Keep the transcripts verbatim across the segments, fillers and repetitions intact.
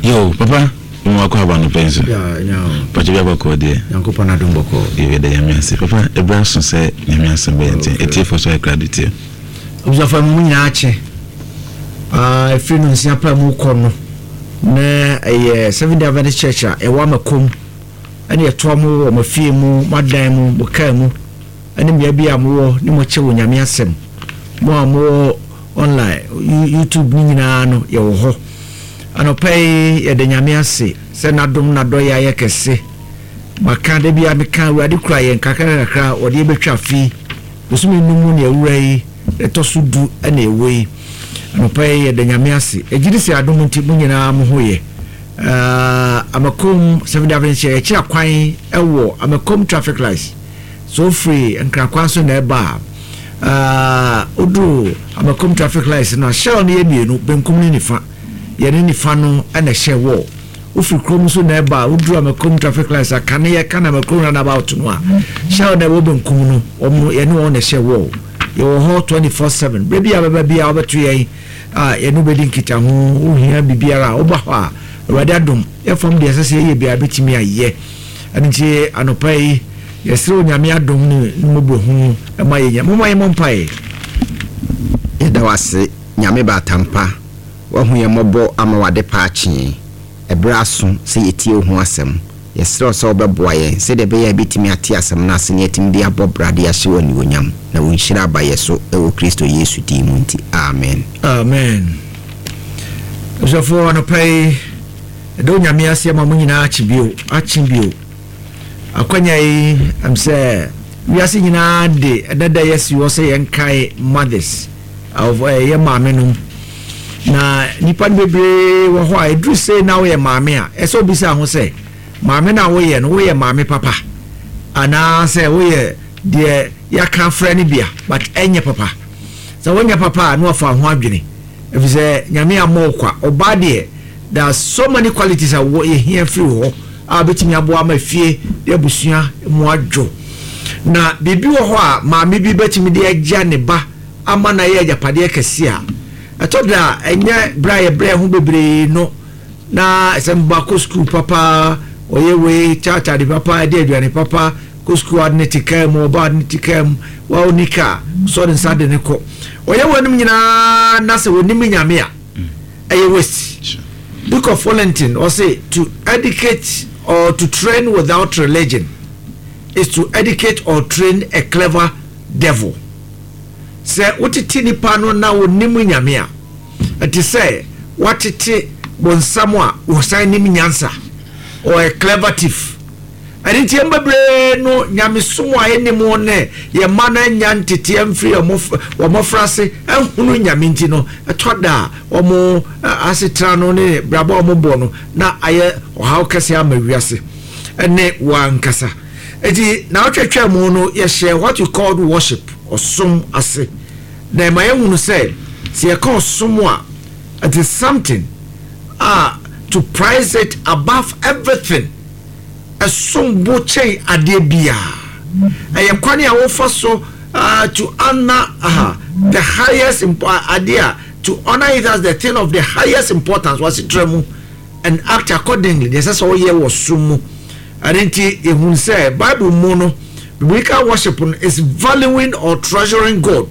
Yo, papa, mo akɔ aba no pɛn so. Pàtó bi abɔkɔ deɛ. Nyankopɔn adom, bɔkɔ. Yɛbɛda Nyame ase. Papa, ɛberɛ aso sɛ Nyame asɛm bɛyɛ nti ɛtiefo so ayɛ krado tie. Abusuafo, mu nyinaa akye. Ɛfiri no nsia pa mu kɔ no na ɛyɛ Seven Day Adventist Church a ɛwɔ Amakom, ɛne ɛtoa mo wɔ mo fie mu, mo adan mu, mo kaa mu, ɛne mmea bi a mowɔ ne mo kyɛ wɔ Nyame asɛm. Mo a mowɔ online, YouTube ne nyinaa no, yɛwɔ hɔ. Anɔpa yi yɛde Nyame ase sɛ n'adom n'adɔyɛ ayɛ kɛse. Maka da bi a meka, Awurade kura yɛn kakra kakra, wɔde yɛbɛtwa fi bosome num mu ne awura yi ɛtɔ so du ɛna ɛwɔ yi. Anɔpa yi yɛde Nyame ase, ɛgye di sɛ adom nti mo nyinaa mo ho yɛ. Amakom Seven Day Adventist yɛkyerɛ kwan ɛwɔ Amakom traffic lights so. Ofiri Nkrakwan so na ɛba a, oduru Amakom traffic lights no, Shell no yɛ mmienu, benkum ne nifa. Yɛne nifa no ɛna ɛhyɛ wɔ. Wofiri kurom nso na ɛba a, woduru Amakom traffic lights a, kane yɛ ka na Amakom roundabout no a, Shell na ɛwɔ benkum no, wɔn yɛne wɔn na ɛhyɛ wɔ. Yɛwɔ hɔ twenty four seven. Bere bi a bɛba bi a wɔbɛto yɛn a, yɛne wobɛdi nkitaho. Wohia biribiara a, woba hɔ a, Awurade adom, yɛfam deɛ ɛsɛ sɛ yɛyɛ biara bɛtumi ayɛ. Ɛno nti anɔpa yi yɛsrɛ Onyame adom ne ne mmɔborɔhu ɛma yɛnya. Momma yɛmmɔ mpaeɛ. Yɛda wo ase, Nyame baatampa. Woahu yɛn mmɔbɔ ama wade pa akyee. Ɛberɛ aso sɛ yɛtie wo ho asɛm. Yɛserɛ wo sɛ wobɛboa yɛn sɛdeɛ ɛbɛyɛ a yɛbɛtumi ate asɛm no ase ne yɛatumi de abɔ bra de ahyɛ wo animuonyam, na wo nhyira aba yɛ so, ɛwɔ Kristo Yesu din mu nti, amen. Amen. Abusuafoɔ, anɔpa yi ɛdɛ Onyame ase ama mo nyinaa akye bio, akye bio. Akwanya yi am sɛ wiase nyinaa de ɛdada yɛsi hɔ sɛ yɛnkae mothers of yɛ maame nom, na nipa no bebree wɔ hɔ a ɛduru sei na woyɛ maame a, ɛsɛ obisa ho sɛ maame no a woyɛ no, woyɛ maame papa anaasɛ woyɛ deɛ yɛaka frɛ no bia, but ɛnyɛ papa. Sɛ wonyɛ papa a, na wafa ho adwene, ɛfiri sɛ Nyame ammɔ wo kwa. Ɔbaa deɛ, there are so many qualities a wɔ yɛhia firi hɔ a wobɛtumi aboa ama fie de abusua mu adwo. Na biribi wɔ hɔ a maame bi bɛtumi de agya ne ba ama na yɛ agyapadeɛ kɛse a ɛtɔ da a ɛnyɛ berɛ a yɛbrɛ ho bebree no. Na sɛ mba kɔ sukuu papa, ɔyɛ wei kyakyade papa, ɛde aduane papa kɔ sukuu, ade ne te kaa mu, ɔba ade ne te kaa mu, wa oni kaa sɔ ne nsa de ne kɔ, ɔyɛ wɔn nyinaa, na sɛ wɔnim Nyame a, ɛyɛ waste. Duke of Wellington ɔse, "To educate or to train without religion is to educate or train a clever devil." Sɛ wotete nipa no na wɔnim Nyame a, ɛte sɛ watete bonsam a wɔsan nim nyansa or a clever thief. Ɛne nti yɛn bebree no, nyamesom a ɛnim ne yɛn mma no anya nteteɛ mfiri wɔn mmɔfra ase ɛhunu Nyame nti no, ɛtɔ da a wɔn asetena no ne brabɔ a wɔn bɔ no na ayɛ ɔhaw kɛse ama wiase ɛne wɔn ankasa. Eti na ɔtwetwe mu no, yɛhyɛ what you call worship, ɔsom ase, na ɛma yɛhunu sɛ sɛ yɛka ɔsom a, it is something a to prize it above everything, ɛsom bo kyɛn adeɛ biara. Ɛyɛ kwan a wofa so uh, to honor uh, the highest impo adeɛ a to honor it as the thing of the highest importance wasetena mu and act accordingly. Deɛ ɛsɛ sɛ ɔyɛ wɔ som mu. Ɛne nti ehun sɛ Bible mu no, biblical worship no is valuing or treasuring God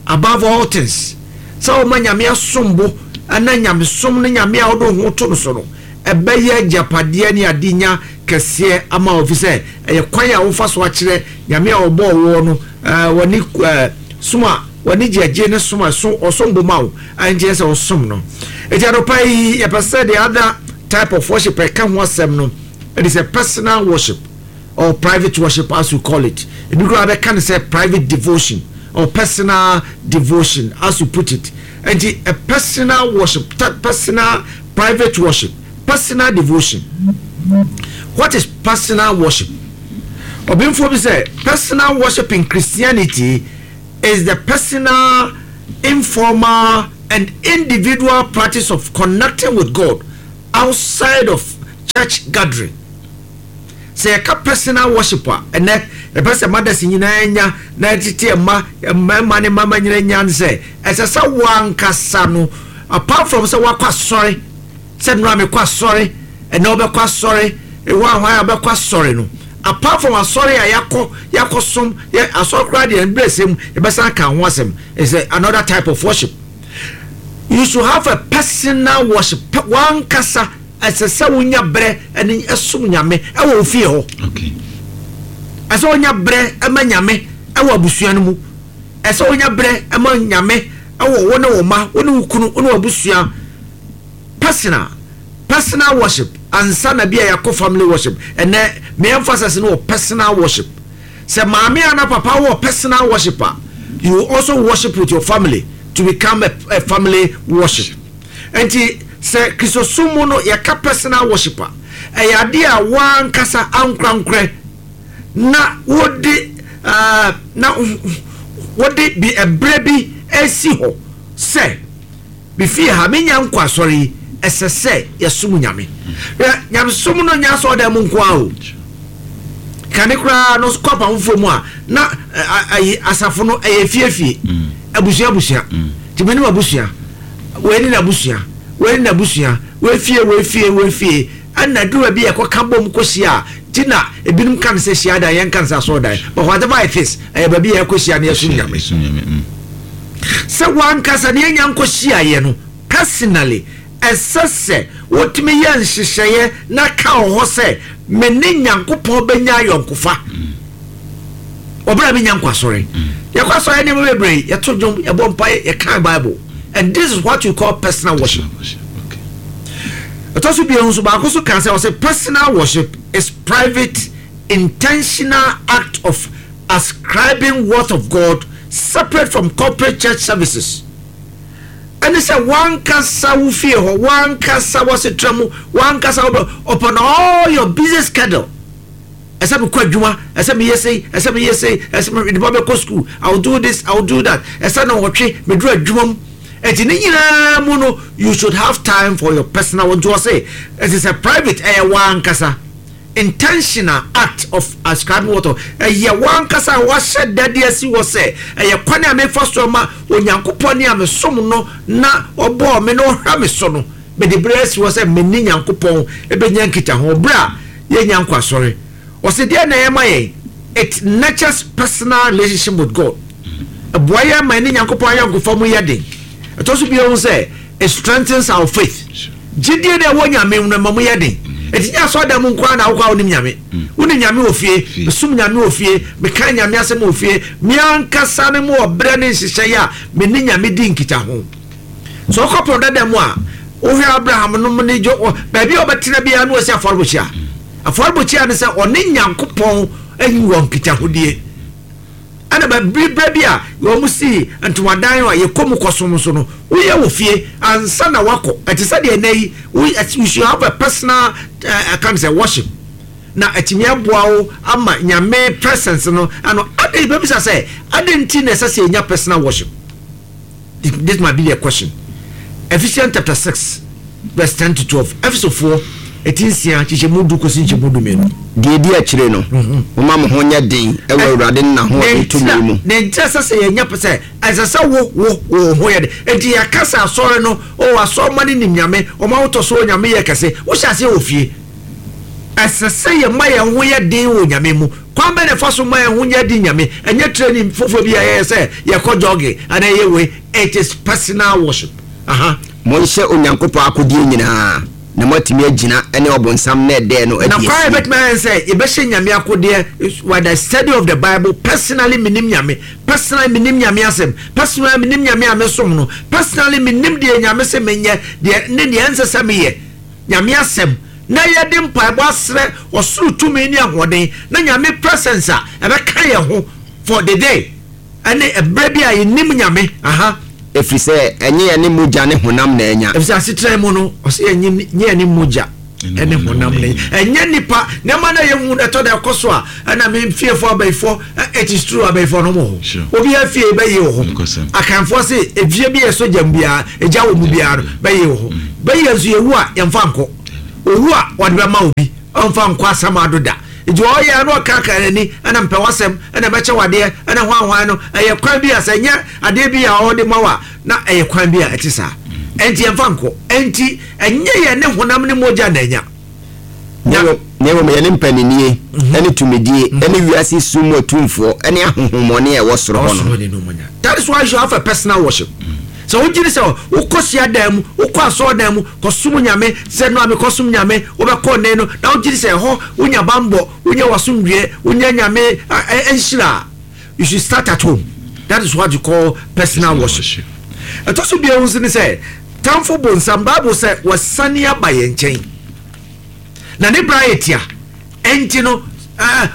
above all things, sɛ ɔma Nyame asom bo ɛna nyamesom no, Nyame a ɔde ho to no so no, ɛbɛyɛ agyapadeɛ ne adenya kɛseɛ ama ofi sɛ ɛyɛ kwan a wofa so akyerɛ Nyame a ɔbɔɔ wɔ no ɛɛ wɔne ɛɛ som a wɔne gyegye ne som a so ɔsom bo ma wo a, nkyɛn sɛ ɔsom no. Eti anɔpa yi yɛpɛ sɛ the other type of worship ɛka ho asɛm no, it is a personal worship or private worship, as you call it. Ebi koraa bɛka no sɛ private devotion or personal devotion, as you put it. Nti a personal worship, personal private worship, personal devotion. What is personal worship? Ɔbɛnfo bi sɛ personal worship in Christianity is the personal, informal and individual practice of connecting with God outside of church gathering. Sɛ yɛka personal worship a, ɛnɛ yɛpɛ sɛ mothers nyinaa nya na ɛtete mma mmarima ne mmarima nyinaa nya no sɛ ɛsɛ sɛ wankasa no, apart from sɛ wakɔ asɔre. Sɛ nnora mekɔ asɔre, ɛnɛ wobɛkɔ asɔre, ɛwɔ ahwan a wobɛkɔ asɔre no, apart from asɔre a yɛakɔ yɛakɔ som yɛ asɔre koraa deɛ, mbrɛ sɛm yɛbɛsan ka ho asɛm, is another type of worship. You should have a personal worship. Wankasa ɛsɛ sɛ wonya berɛ ɛne ɛsom Nyame ɛwɔ wo fie hɔ. Okay ɛsɛ wonya berɛ ɛma Nyame ɛwɔ abusua no mu. Ɛsɛ wonya berɛ ɛma Nyame ɛwɔ wo ne wo ma, wo ne wo kunu, wo ne w'abusua. personal personal worship ansa na bi a yɛakɔ family worship. Ɛnɛ me emphasis no wɔ personal worship. Sɛ maame ana papa wɔ personal worship a, you also worship with your family to become a, a family worship. Nti sɛ Kristosom mu no yɛka personal worship a, ɛyɛ adeɛ a wankasa ankorankorɛ na wode uh, na wode bi ɛberɛ bi esi hɔ sɛ bifie ha menya nkɔ asɔre yi, ɛsɛ sɛ yɛsom Nyame. Hwɛ, nyamesom no nya asɔre mu nko a o kane koraa no kɔ apam foforɔ mu a, na ayi asafo no ɛyɛ fiefie, abusua abusua. Nti mene abusua wei ne n'abusua, wei ne n'abusua, wei fie, wei fie, wei fie, ɛna duru bi yɛkɔka bom kɔhyia a, ti na ebinom ka no sɛ hyia dan, yɛn ka no sɛ asɔre dan, but whatever it is, ɛyɛ baabi yɛ kɔhyia no yɛsom Nyame. Yɛsom Nyame mm. Sɛ wankasa ne yɛnya nkɔhyiaeɛ no personally, ɛsɛ sɛ wotumi yɛ nhyehyɛeɛ na ka wɔ hɔ sɛ me ne Nyankopɔn bɛnya ayɔnkofa. Ɔberɛ a menya nkɔ asɔre, yɛkɔ asɔre nneɛma bebree, yɛto dwom, yɛbɔ mpaeɛ, yɛka Bible, and this is what you call personal worship. Worship, okay. Ɛtɔ so bio nso, baako so ka sɛ ɔsɛ personal worship is private, intentional act of ascribing worth of God separate from corporate church services. Ɛne sɛ wankasa wo fie hɔ, wankasa wɔsetra mu, wankasa wobɛ upon all your busy schedule, ɛsɛ mekɔ adwuma, ɛsɛ meyɛ sei, ɛsɛ meyɛ sei, ɛsɛ mede ba bɛkɔ school, I will do this, I will do that, ɛsɛ na wɔtwe meduru adwuma mu. Ɛnti ne nyinaa mu no, you should have time for your personal. Nti wɔ se ɛsɛ sɛ private, ɛyɛ wankasa intentional act of ascribing water, ɛyɛ wankasa a wahyɛ dade asi wɔ sɛ ɛyɛ kwan a mefa so ama Onyankopɔn ne a mesom no na ɔbɔɔ me na ɔhwɛ me so no. Mede berɛ asi hɔ sɛ mene Nyankopɔn ɛbɛnya nkitaho berɛ a yɛnya nkɔ asɔre. Ɔsɛ deɛ na ɛma yɛn, it nurtures personal relationship with God. Ɛboa yɛn ma ɛne Nyankopɔn ayɔnkofa mu yɛ den. Ɛtɔ so bio sɛ it strengthens our faith. Gyidie na ɛwɔ Nyame mu no ma mu yɛ den. Ɛti nyɛ asɔre mu nkoa na wokɔ a wonim Nyame. Wonim Nyame wɔ fie, mesom Nyame wɔ fie, meka Nyame asɛm wɔ fie, me ankasa ne mu ɔbrɛ ne nhyehyɛeɛ a me ne Nyame di nkitaho. Sɛ ɔkɔ pɔn dada mu a, wohwɛ Abraham nom ne jo baabi a ɔbɛtena biara no, wɔsi afɔrebɔkyia. Afɔrebɔkyia no sɛ ɔne Nyankopɔn ayi wɔ nkitahodie. Ɛna baabi berɛ bi a wɔn si ntomadan a yɛkɔ mu kɔsom so no, woyɛ wɔ fie ansa na wakɔ. Ɛte sɛ deɛ ɛnɛ yi you should have a personal uh, kind sɛ worship na ɛtumi aboa wo ama Nyame presence no ano ade. Bɛbisa sɛ ade nti na ɛsɛ sɛ yɛnya personal worship? This might be the question. Ephesians chapter six verse ten to twelve. Efesofoɔ eti nsia kyekyɛ du kɔsi nkyɛmu du mmienu. Deɛ di akyire no, momma mo ho nyɛ den ɛwɔ Awurade ne n'ahoɔden tumi mu. Ne nkyerɛ sɛ sɛ yɛnya pɛ sɛ ɛsɛ sɛ wo wo wo ho yɛ de. Nti yɛka sɛ asɔre no o, asɔre ma ne nim Nyame, ɔma wotɔ so Nyame yɛ kɛse. Wohyɛ aseɛ wɔ fie. Ɛsɛ sɛ yɛma yɛn ho yɛ den wɔ Nyame mu. Kwan bɛ na ɛfa so ma yɛn ho yɛ den Nyame? Ɛnyɛ training foforɔ bi a yɛyɛ sɛ yɛkɔ jogging ana ɛyɛ wei. It is personal worship. Aha. Monhyɛ Onyankopɔn akodeɛ nyinaa na moatumi agyina ne ɔbonsam na ɛdɛɛ no na adi kwan asie. Yɛbɛtumi ayɛ sɛ yɛbɛhyɛ Nyame akodeɛ with the study of the Bible. Personally, menim Nyame personally, menim Nyame asɛm personally, menim Nyame a mesom no personally, menim deɛ Nyame sɛ menyɛ deɛ ne deɛ ɛnsɛ sɛ meyɛ. Nyame asɛm na yɛde mpaebɔ asrɛ ɔsoro tumi ne ahoɔden na Nyame presence a ɛbɛka yɛn ho for the day ɛne ɛberɛ bi a yɛnim Nyame aha. Ɛfiri sɛ ɛnyɛ yɛne mogya ne honam na anya. Ɛfisɛ asetena mu no, ɔsɛ yɛnyɛ nyɛ ne mogya ɛne honam ne ɛnyɛ nipa nneɛma na yɛhu ɛtɔ da ɛkɔ so a, ɛna me fiefoɔ abayifoɔ. It is true, abayifoɔ no mo Sure. hɔ, obiara fie bɛyɛ wɔ hɔ. Nokwasɛm. Akanfoɔ se efie bi yɛ so gyam biara, egya wɔ mu biara no bɛyɛ wɔ hɔ. Bɛyɛ nso yɛwu a, yɛmfa nkɔ. Owu a, wɔde bɛma obi, ɔmfa nkɔ asam ado da. Nti ɔyɛ no ɔkaka n'ani ɛna mpɛ wasɛm ɛna mɛkyɛ wadeɛ ɛna hwanhwan no, ɛyɛ kwan bi a sɛ nyɛ adeɛ bi a ɔde ma wa na ɛyɛ kwan bi a ɛte saa. Ɛnti yɛmfa nkɔ. Ɛnti ɛnyɛ yɛn ne honam ne mogya na ɛnya. Na mmom yɛne mpaninnie ne tumidie ne wiase sum mu atumfoɔ ne ahonhommɔne a ɛwɔ soro hɔ no. That is why you should have a personal worship. Sɛ wogye di sɛ wokɔ hyiadan mu, wokɔ asɔredan mu kɔsom Nyame sɛ no a mekɔsom Nyame, wobɛkɔ nnɛ no, na wogye di sɛ ɛhɔ wonya bammɔ, wonya w'asomdwoeɛ, wonya Nyame nhyira a, you should start at home. That is what you call personal worship. Ɛtɔ so bio nso ne sɛ, tamfo bonsam, Bible sɛ wasane aba yɛn nkyɛn. Na ne bra yɛ tia. Ɛnti no,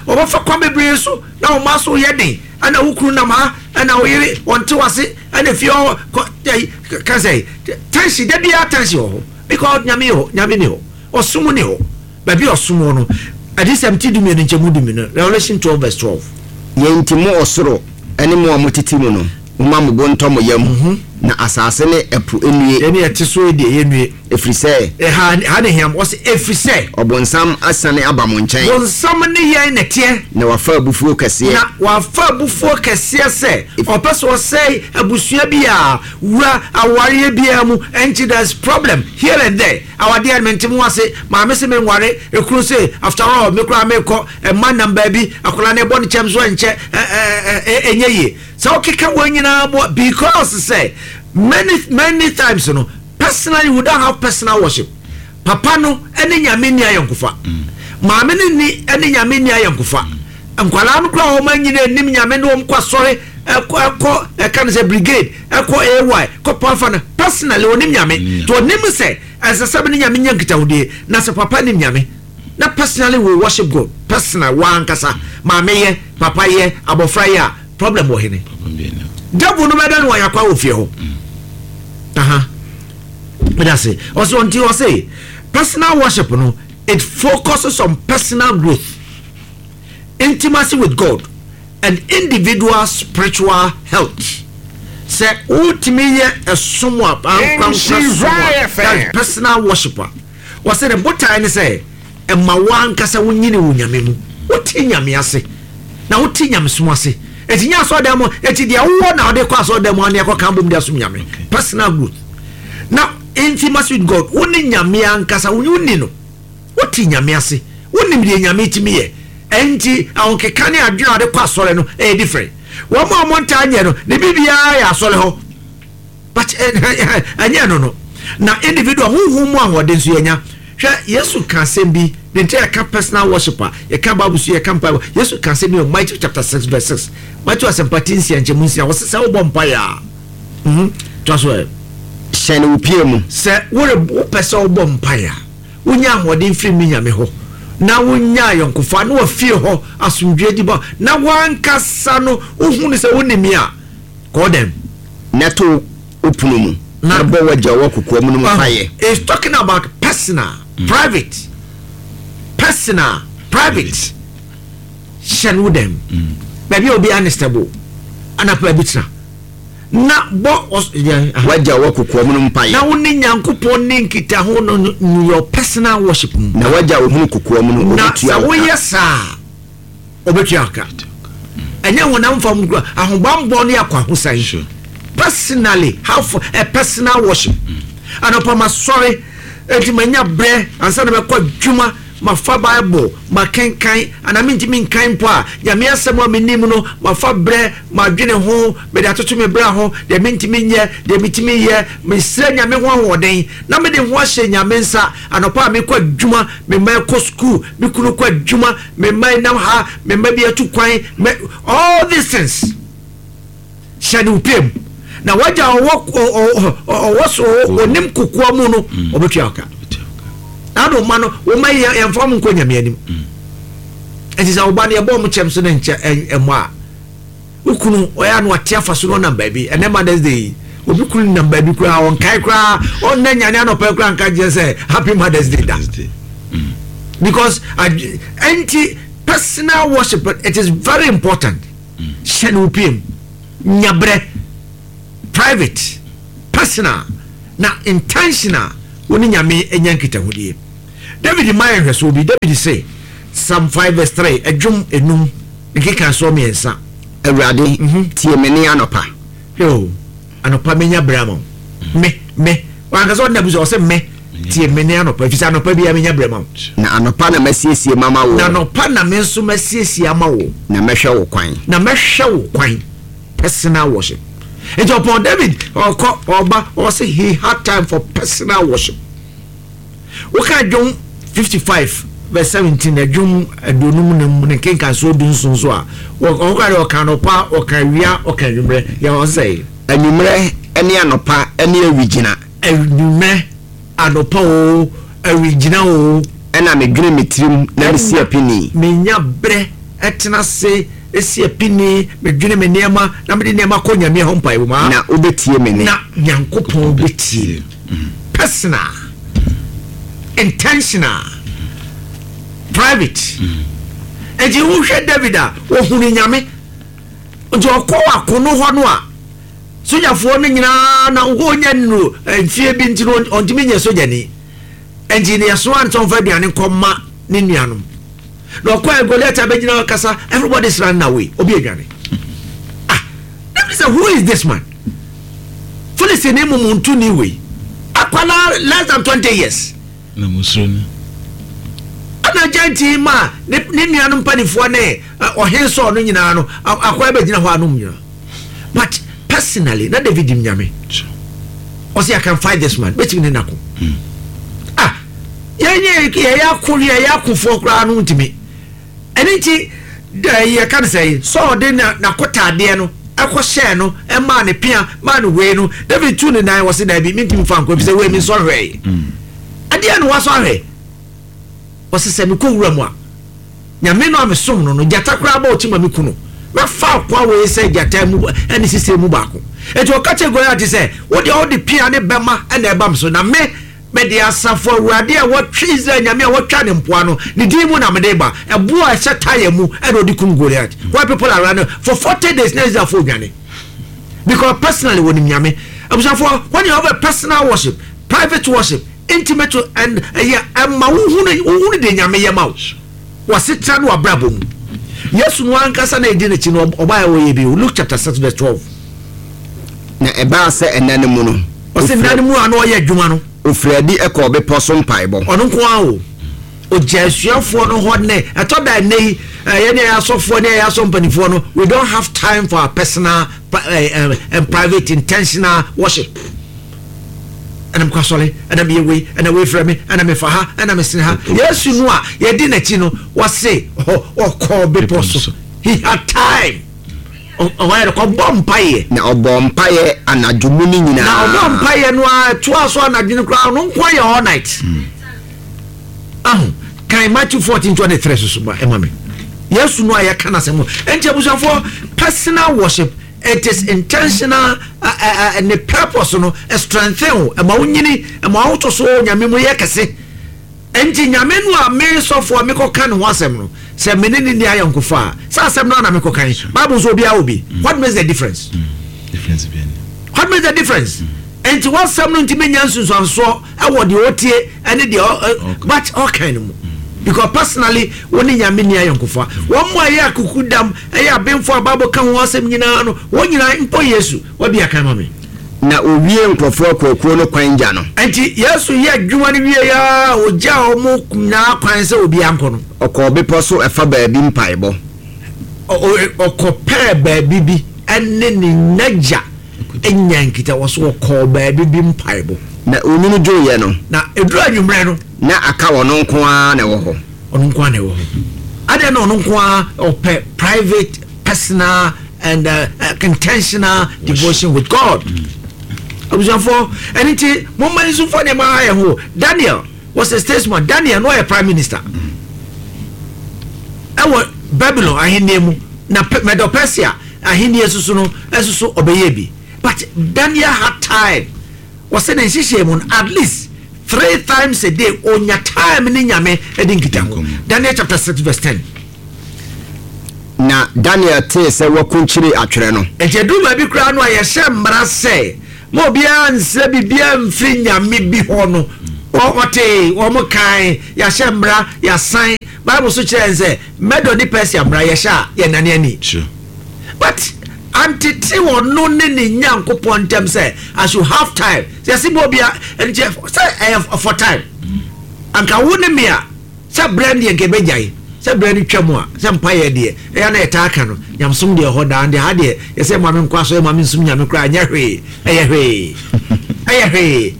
wɔbɛfa kwan bebree so na wɔn aso yɛ den. Ɛna wo kunu nam ha, ɛna wo yere wɔnte wase, ɛna fie hɔ kɔ ɛyi ka sɛ tension da biara tension wɔ hɔ because nyame yɛ hɔ, nyame ni hɔ, ɔsom ni hɔ. Baabi ɔsom wɔ no, Adiyisɛm ti dumienu nkyɛmu dumienu, Revelation twelve verse twelve. Yei nti mo ɔsoro ne mo a motete mu no, momma mo bo ntɔ mo yam, na asase ne ɛpo nnue. Yɛn a yɛte so yi deɛ, yɛnnue. Ɛfiri sɛ. Ɛha, ha na ɛhia mo. Ɔse, ɛfiri sɛ. Ɔbonsam asiane aba mo nkyɛn. Bonsam ne yɛn na ɛteɛ. Na wafa abufuo kɛseɛ. Na wafa abufuo kɛseɛ sɛ ɔpɛ sɛ ɔsɛe abusua bi a wura awareɛ biara mu. Ɛnti there's problem here and there. Awadeɛ no mente mo ase, maame se menware, ekunu se after all me koraa mekɔ, mma nam baabi, akwadaa no ɛbɔ ne kyɛm so ɛnkyɛ ɛnyɛ yie. Sɛ wokeka wɔn nyinaa boa because sɛ many many times no personally we don't have personal worship. Papa no ɛne Nyame nni ayɔnkofa, maame no nni ɛne Nyame nni ayɔnkofa. Nkwadaa no koraa wɔn anyina anim Nyame ne wɔn kɔ asɔre ɛkɔ ɛkɔ ɛka no sɛ brigade ɛkɔ A Y kɔ pafa no, personally onim Nyame nti onim sɛ ɛsɛ sɛ ne Nyame nya nkitahodie. Na sɛ papa nim Nyame na personally we worship God, personal wankasa, maame yɛ, papa yɛ, abɔfra yɛ a, problem wɔ hene? Devil no bɛda no wɔyɛ akwa wɔ fie hɔ. Aha meda se ɔsɛ ɔnti ɔsɛ personal worship no, it focuses on personal growth, intimacy with God and individual spiritual health. Sɛ wotumi yɛ ɛsom a ankorankora som a, that is personal worship a, wɔsɛ ne botae ne sɛ ɛma wankasa wonyini wɔ Nyame mu, wote Nyame ase na wote nyamesom ase. Eti nyɛ asɔredan mu, eti deɛ wowɔ na wɔde kɔ asɔredan mu ane ɛkɔ kan bom de asom Nyame. Personal growth na intimacy with God, wo ne Nyame ankasa wonni no, wote Nyame ase, wonim deɛ Nyame tumi yɛ. Ɛnti ahokeka ne adwene a wɔde kɔ asɔre no ɛyɛ different. Wɔn a wɔn ntaa nyɛ no ne biribiara yɛ asɔre hɔ, but ɛnyɛ no no na individual huhu mu ahoɔden nso yɛnya. Hwɛ, Yesu ka asɛm bi ne nti yɛka personal worship a, yɛka Bible so, yɛka mpa. Yesu ka asɛm bi wɔ Matthew chapter six verse six, Matthew Asɛmpa ti nsia nkyɛmu nsia. Wɔsɛ sɛ wobɔ mpaeɛ a, mhm toa so ɛ. Hyɛne wo pie mu. Sɛ wore wopɛ sɛ wobɔ mpaeɛ a, wonya ahoɔden firi me Nyame hɔ na wonya ayɔnkofa na wafie hɔ asomdwe di bɔ na wankasa no wohu no sɛ wonim a, kɔɔ dɛm. Na to wo pono mu na bɔ w'agya wɔ kokoa mu no mu mpaeɛ. It's talking about personal, mm. private, personal, private. Hyɛn wo dɛm baabi a obi anistable anapa bi tena na bɔ. W'agya wɔ kokoa mu no mpaeɛ. Na wo ne Nyankopɔn ne nkitaho no no your personal worship mu. Na w'agya ohunu kokoa mu no na ɔbɛtua sɛ wo ka. Woyɛ saa, ɔbɛtua ka. Ɛnyɛ honam fam kura ahobanbɔ ne akɔ ahosan. Sure. Personally have a personal worship. Anɔpa ma sɔre eti ma nya brɛ ansa na mɛkɔ adwuma, ma fa Bible ma kenkan ana mentumi nkan mpo a, Nyame asɛm a menim no, ma fa brɛ ma dwene ho, mede atoto me brɛ ho, deɛ mentumi nyɛ, deɛ metumi yɛ, mesrɛ Nyame ho ahoɔden na mede ho ahyɛ Nyame nsa. Anɔpa a mekɔ adwuma, me mma kɔ school, me kunu kɔ adwuma, me mma nam ha, me mma bi atu kwan, me all these things, hyɛ ne wo pie mu na wagya ɔwɔ ɔwɔ so onim kokoa mu no, ɔbɛtua ɔka. Na ade ɔma no wɔma yɛ yɛmfa mo nkɔ Nyame anim. Ɛnti sɛ ɔba no yɛbɔ ɔmo kyɛm so ne nkyɛ ɛmmɔ a, wo kunu ɔyɛ ano ate afa so no ɔnam baabi. Ɛnɛ Mother's Day yi, obi kunu nam baabi koraa ɔnkae koraa, ɔnna nyane anɔpɛ koraa nka kyerɛ sɛ happy Mother's Day da because ɛnti personal worship, it is very important. Hyɛ ne wo pie mu, nyabrɛ private, personal na intentional, wo ne Nyame anya nkitahodie. David ma yɛ nhwɛsoɔ bi. David se Psalm five verse three, ɛdwom enum nkeka soɔ mmiɛnsa. Awurade, tie me ne anɔpa. Yo, anɔpa menya berɛ ama wo, me me Wankasa ɔde n'abusua, ɔsɛ me tie me ne anɔpa, efisɛ anɔpa bi a menya brɛ ma wo. Na anɔpa na masiesie mama wo. Na anɔpa na me nso masiesie ama wo. Na mɛhwɛ wo kwan. Na mɛhwɛ wo kwan. Personal worship. Nti ɔpɔn David ɔkɔ ɔba, ɔsɛ he had time for personal worship. Woka Dwom fifty five verse seventeen, ɛdwom aduonum ne mu ne nkenkansoɔ du nson so a, ɔka de ɔka anɔpa, ɔka awia, ɔka anwummerɛ, yɛ ɔsɛ. Anwummerɛ ne anɔpa ne awigyina. Anwummerɛ, anɔpa o, awigyina o. Ɛna medwene me tirim na mesi apini. Menya berɛ ɛtena se esi apini, medwene me nneɛma na mede nneɛma kɔ Nyame hɔ mpaebɔ mu. Na wobɛtie me ne. Na Nyankopɔn bɛtie. Personal, intentional, private. Nti wohwɛ David a, wɔhunu Nyame nti ɔkɔ akono hɔ no a, sogyafoɔ no nyinaa na wɔnya nnuro mfie bi nti no ɔntumi nyɛ sogyani, nti ne yɛsoa ntɔmfa aduane nkɔma ne nuanom. Na ɔkɔ Goliath abɛgyina kasa, everybody is running away, obi adwane. Ah, David sɛ, "Who is this man?" Philistine mu mu ntu ni wei akwala less than twenty years. Na musuro no. Ɛna gyanti ma ne ne nuanom mpanimfoɔ ne ɔhen sɔɔ no nyinaa no akɔya bɛgyina hɔ anom nyinaa. But personally na David nim Nyame. Ɔsɛ, "I can fight this man, bɛtumi ne nako." Ah, yɛnyɛ yɛyɛ ako, yɛyɛ akofoɔ koraa no ntumi. Ɛne nti yɛka no sɛ sɛ ɔde n'akotaadeɛ no ɛkɔ hyɛɛ no, ɛmaa ne pea maa no wei no, David tu ne nan wɔ se, "Daabi, mentumi fa nkɔ, efisɛ wei mi nsɔ hwɛe." Adeɛ no wasɔ ahwɛ. Ɔsɛ sɛ mekɔ wura mu a, Nyame no a mesom no no gyata koraa bɔ ɔkyi ma me ku no, mɛfa akoa wei sɛ gyata mu ɛne sisire mu baako. Eti ɔka kyerɛ Goliath sɛ, "Wode wode pea ne bɛma ɛna ɛba m so, na me mede asafo Awurade a wɔtwe Israel Nyame a wɔtwa ne mpoa no ne din mu na mede ba." Ɛboɔ a ɛhyɛ tire mu ɛna ɔde kum Goliath. Why people are running for forty days na Israelfoɔ dwane? Because personally wɔnim Nyame. Abusuafoɔ, when you have a personal worship, private worship, intimate and ɛyɛ ɛma wohunu wohunu de Nyame yɛ ma wo wɔsetena no wabrabɔ mu. Yesu no ankasa na ɛdi n'akyi no, ɔbaa wɔyɛ bi. Luke chapter six verse twelve. Na ɛbaa sɛ ɛna no mu no, ɔsɛ nna no mu a na ɔyɛ adwuma no, ofiri adi ɛkɔɔ bepɔ so mpaebɔ. Ɔno nko ara o, ɔgya asuafoɔ no hɔ ne ɛtɔ da. Ɛnɛ yi yɛne ɛyɛ asɔfoɔ ne ɛyɛ asɔ mpanimfoɔ no, we don't have time for our personal uh, uh, and private intentional worship. Ɛna mekɔ asɔre, ɛna meyɛ wei, ɛna wei frɛ me, ɛna mefa ha, ɛna mesene ha. Yesu no a yɛdi n'akyi no, wɔse ɔkɔɔ bepɔ so. He had time, ɔyɛ kɔbɔ mpaeɛ. Na ɔbɔ mpaeɛ anadwo mu no nyinaa. Na ɔbɔ mpaeɛ no a ɛtoa so anadwo no koraa, ɔno nko ayɛ all night. Aho kan Matthew fourteen twenty three soso ba ɛma me. Yesu no a yɛka n'asɛm no nti, abusuafoɔ, personal worship, it is intentional uh, uh, uh, ne purpose no strengthen o, ɛma wo nyini, ɛma wo to so Nyame mu yɛ kɛse. Nti Nyame no a me sɔfoɔ mekɔka ne ho asɛm no, sɛ me ne ne ni ayɛ nkofa a, sɛ asɛm no ana mekɔka yi, Bible nso obiara wɔ bi. What makes the difference? Difference bi. What makes the difference? Nti wɔsɛm no ntumi nya nsunsuansoɔ ɛwɔ deɛ ɔtie ɛne deɛ ɔ but ɔkan no mu, because personally wɔn ne Nyame ni ayɛ nkofa. Wɔn mu a ɛyɛ akuku dam, ɛyɛ abenfo a Bible ka ho asɛm nyinaa no, wɔn nyinaa mpo Yesu wɔbi akan ma me. Na owie nkurɔfoɔ akuakuo no kwan gya no. Nti Yesu yɛ adwuma no wie ya, ogya wɔn nyinaa kwan sɛ obi ankɔ no, ɔkɔɔ bepɔ so ɛfa baabi mpaebɔ. Ɔkɔpɛɛ baabi bi ɛne ne n'agya anya nkita wɔ so, ɔkɔɔ baabi bi mpaebɔ. Na onwunu dwoeɛ no, na eduru anwummerɛ no, na aka ɔno nko ara na ɛwɔ hɔ. Ɔno nko ara na ɛwɔ hɔ. Adeɛ na ɔno nko ara ɔpɛ private, personal and uh, uh, intentional devotion with God. Abusuafoɔ, ɛne nti momma nsumfoɔ nneɛma ayɛ ho. Daniel was a statesman. Daniel no ɔyɛ prime minister ɛwɔ Babylon ahenni mu, na Medo Persia ahenni soso no ɛsoso ɔbɛyɛ bi. But Daniel had time. Wɔsɛ ne nhyehyɛ mu no, at least three times a day onya time ne Nyame ɛde nkita ho. Daniel chapter six verse ten. Na Daniel tee sɛ wakunkyere atwerɛ no, nti ɛduru baabi koraa no a yɛhyɛ mmara sɛ ma obiara nsrɛ biribiara mfiri Nyame bi hɔ no, ɔte wɔn kan yɛahyɛ mmara, yɛasan Bible so kyerɛ sɛ Medo ne Persia mmara yɛhyɛ a yɛnane ani. But Wantete ɔno ne ne Nyankopɔn ntɛm sɛ I should have time. Sɛ yɛsi bɔ obia ɛnkyɛ sɛ ɛyɛ for time. Anka wo ne me a, sɛ berɛ no deɛ nka ɛbɛgyae sɛ berɛ no twa mu a, sɛ mpayɛ deɛ ɛyɛ na yɛtaa ka no, nyamsom deɛ ɛhɔ daa deɛ ha deɛ yɛsɛ ma me nkɔ asɔre, ma me nsom Nyame koraa, nyɛ hwee, ɛyɛ hwee, ɛyɛ hwee.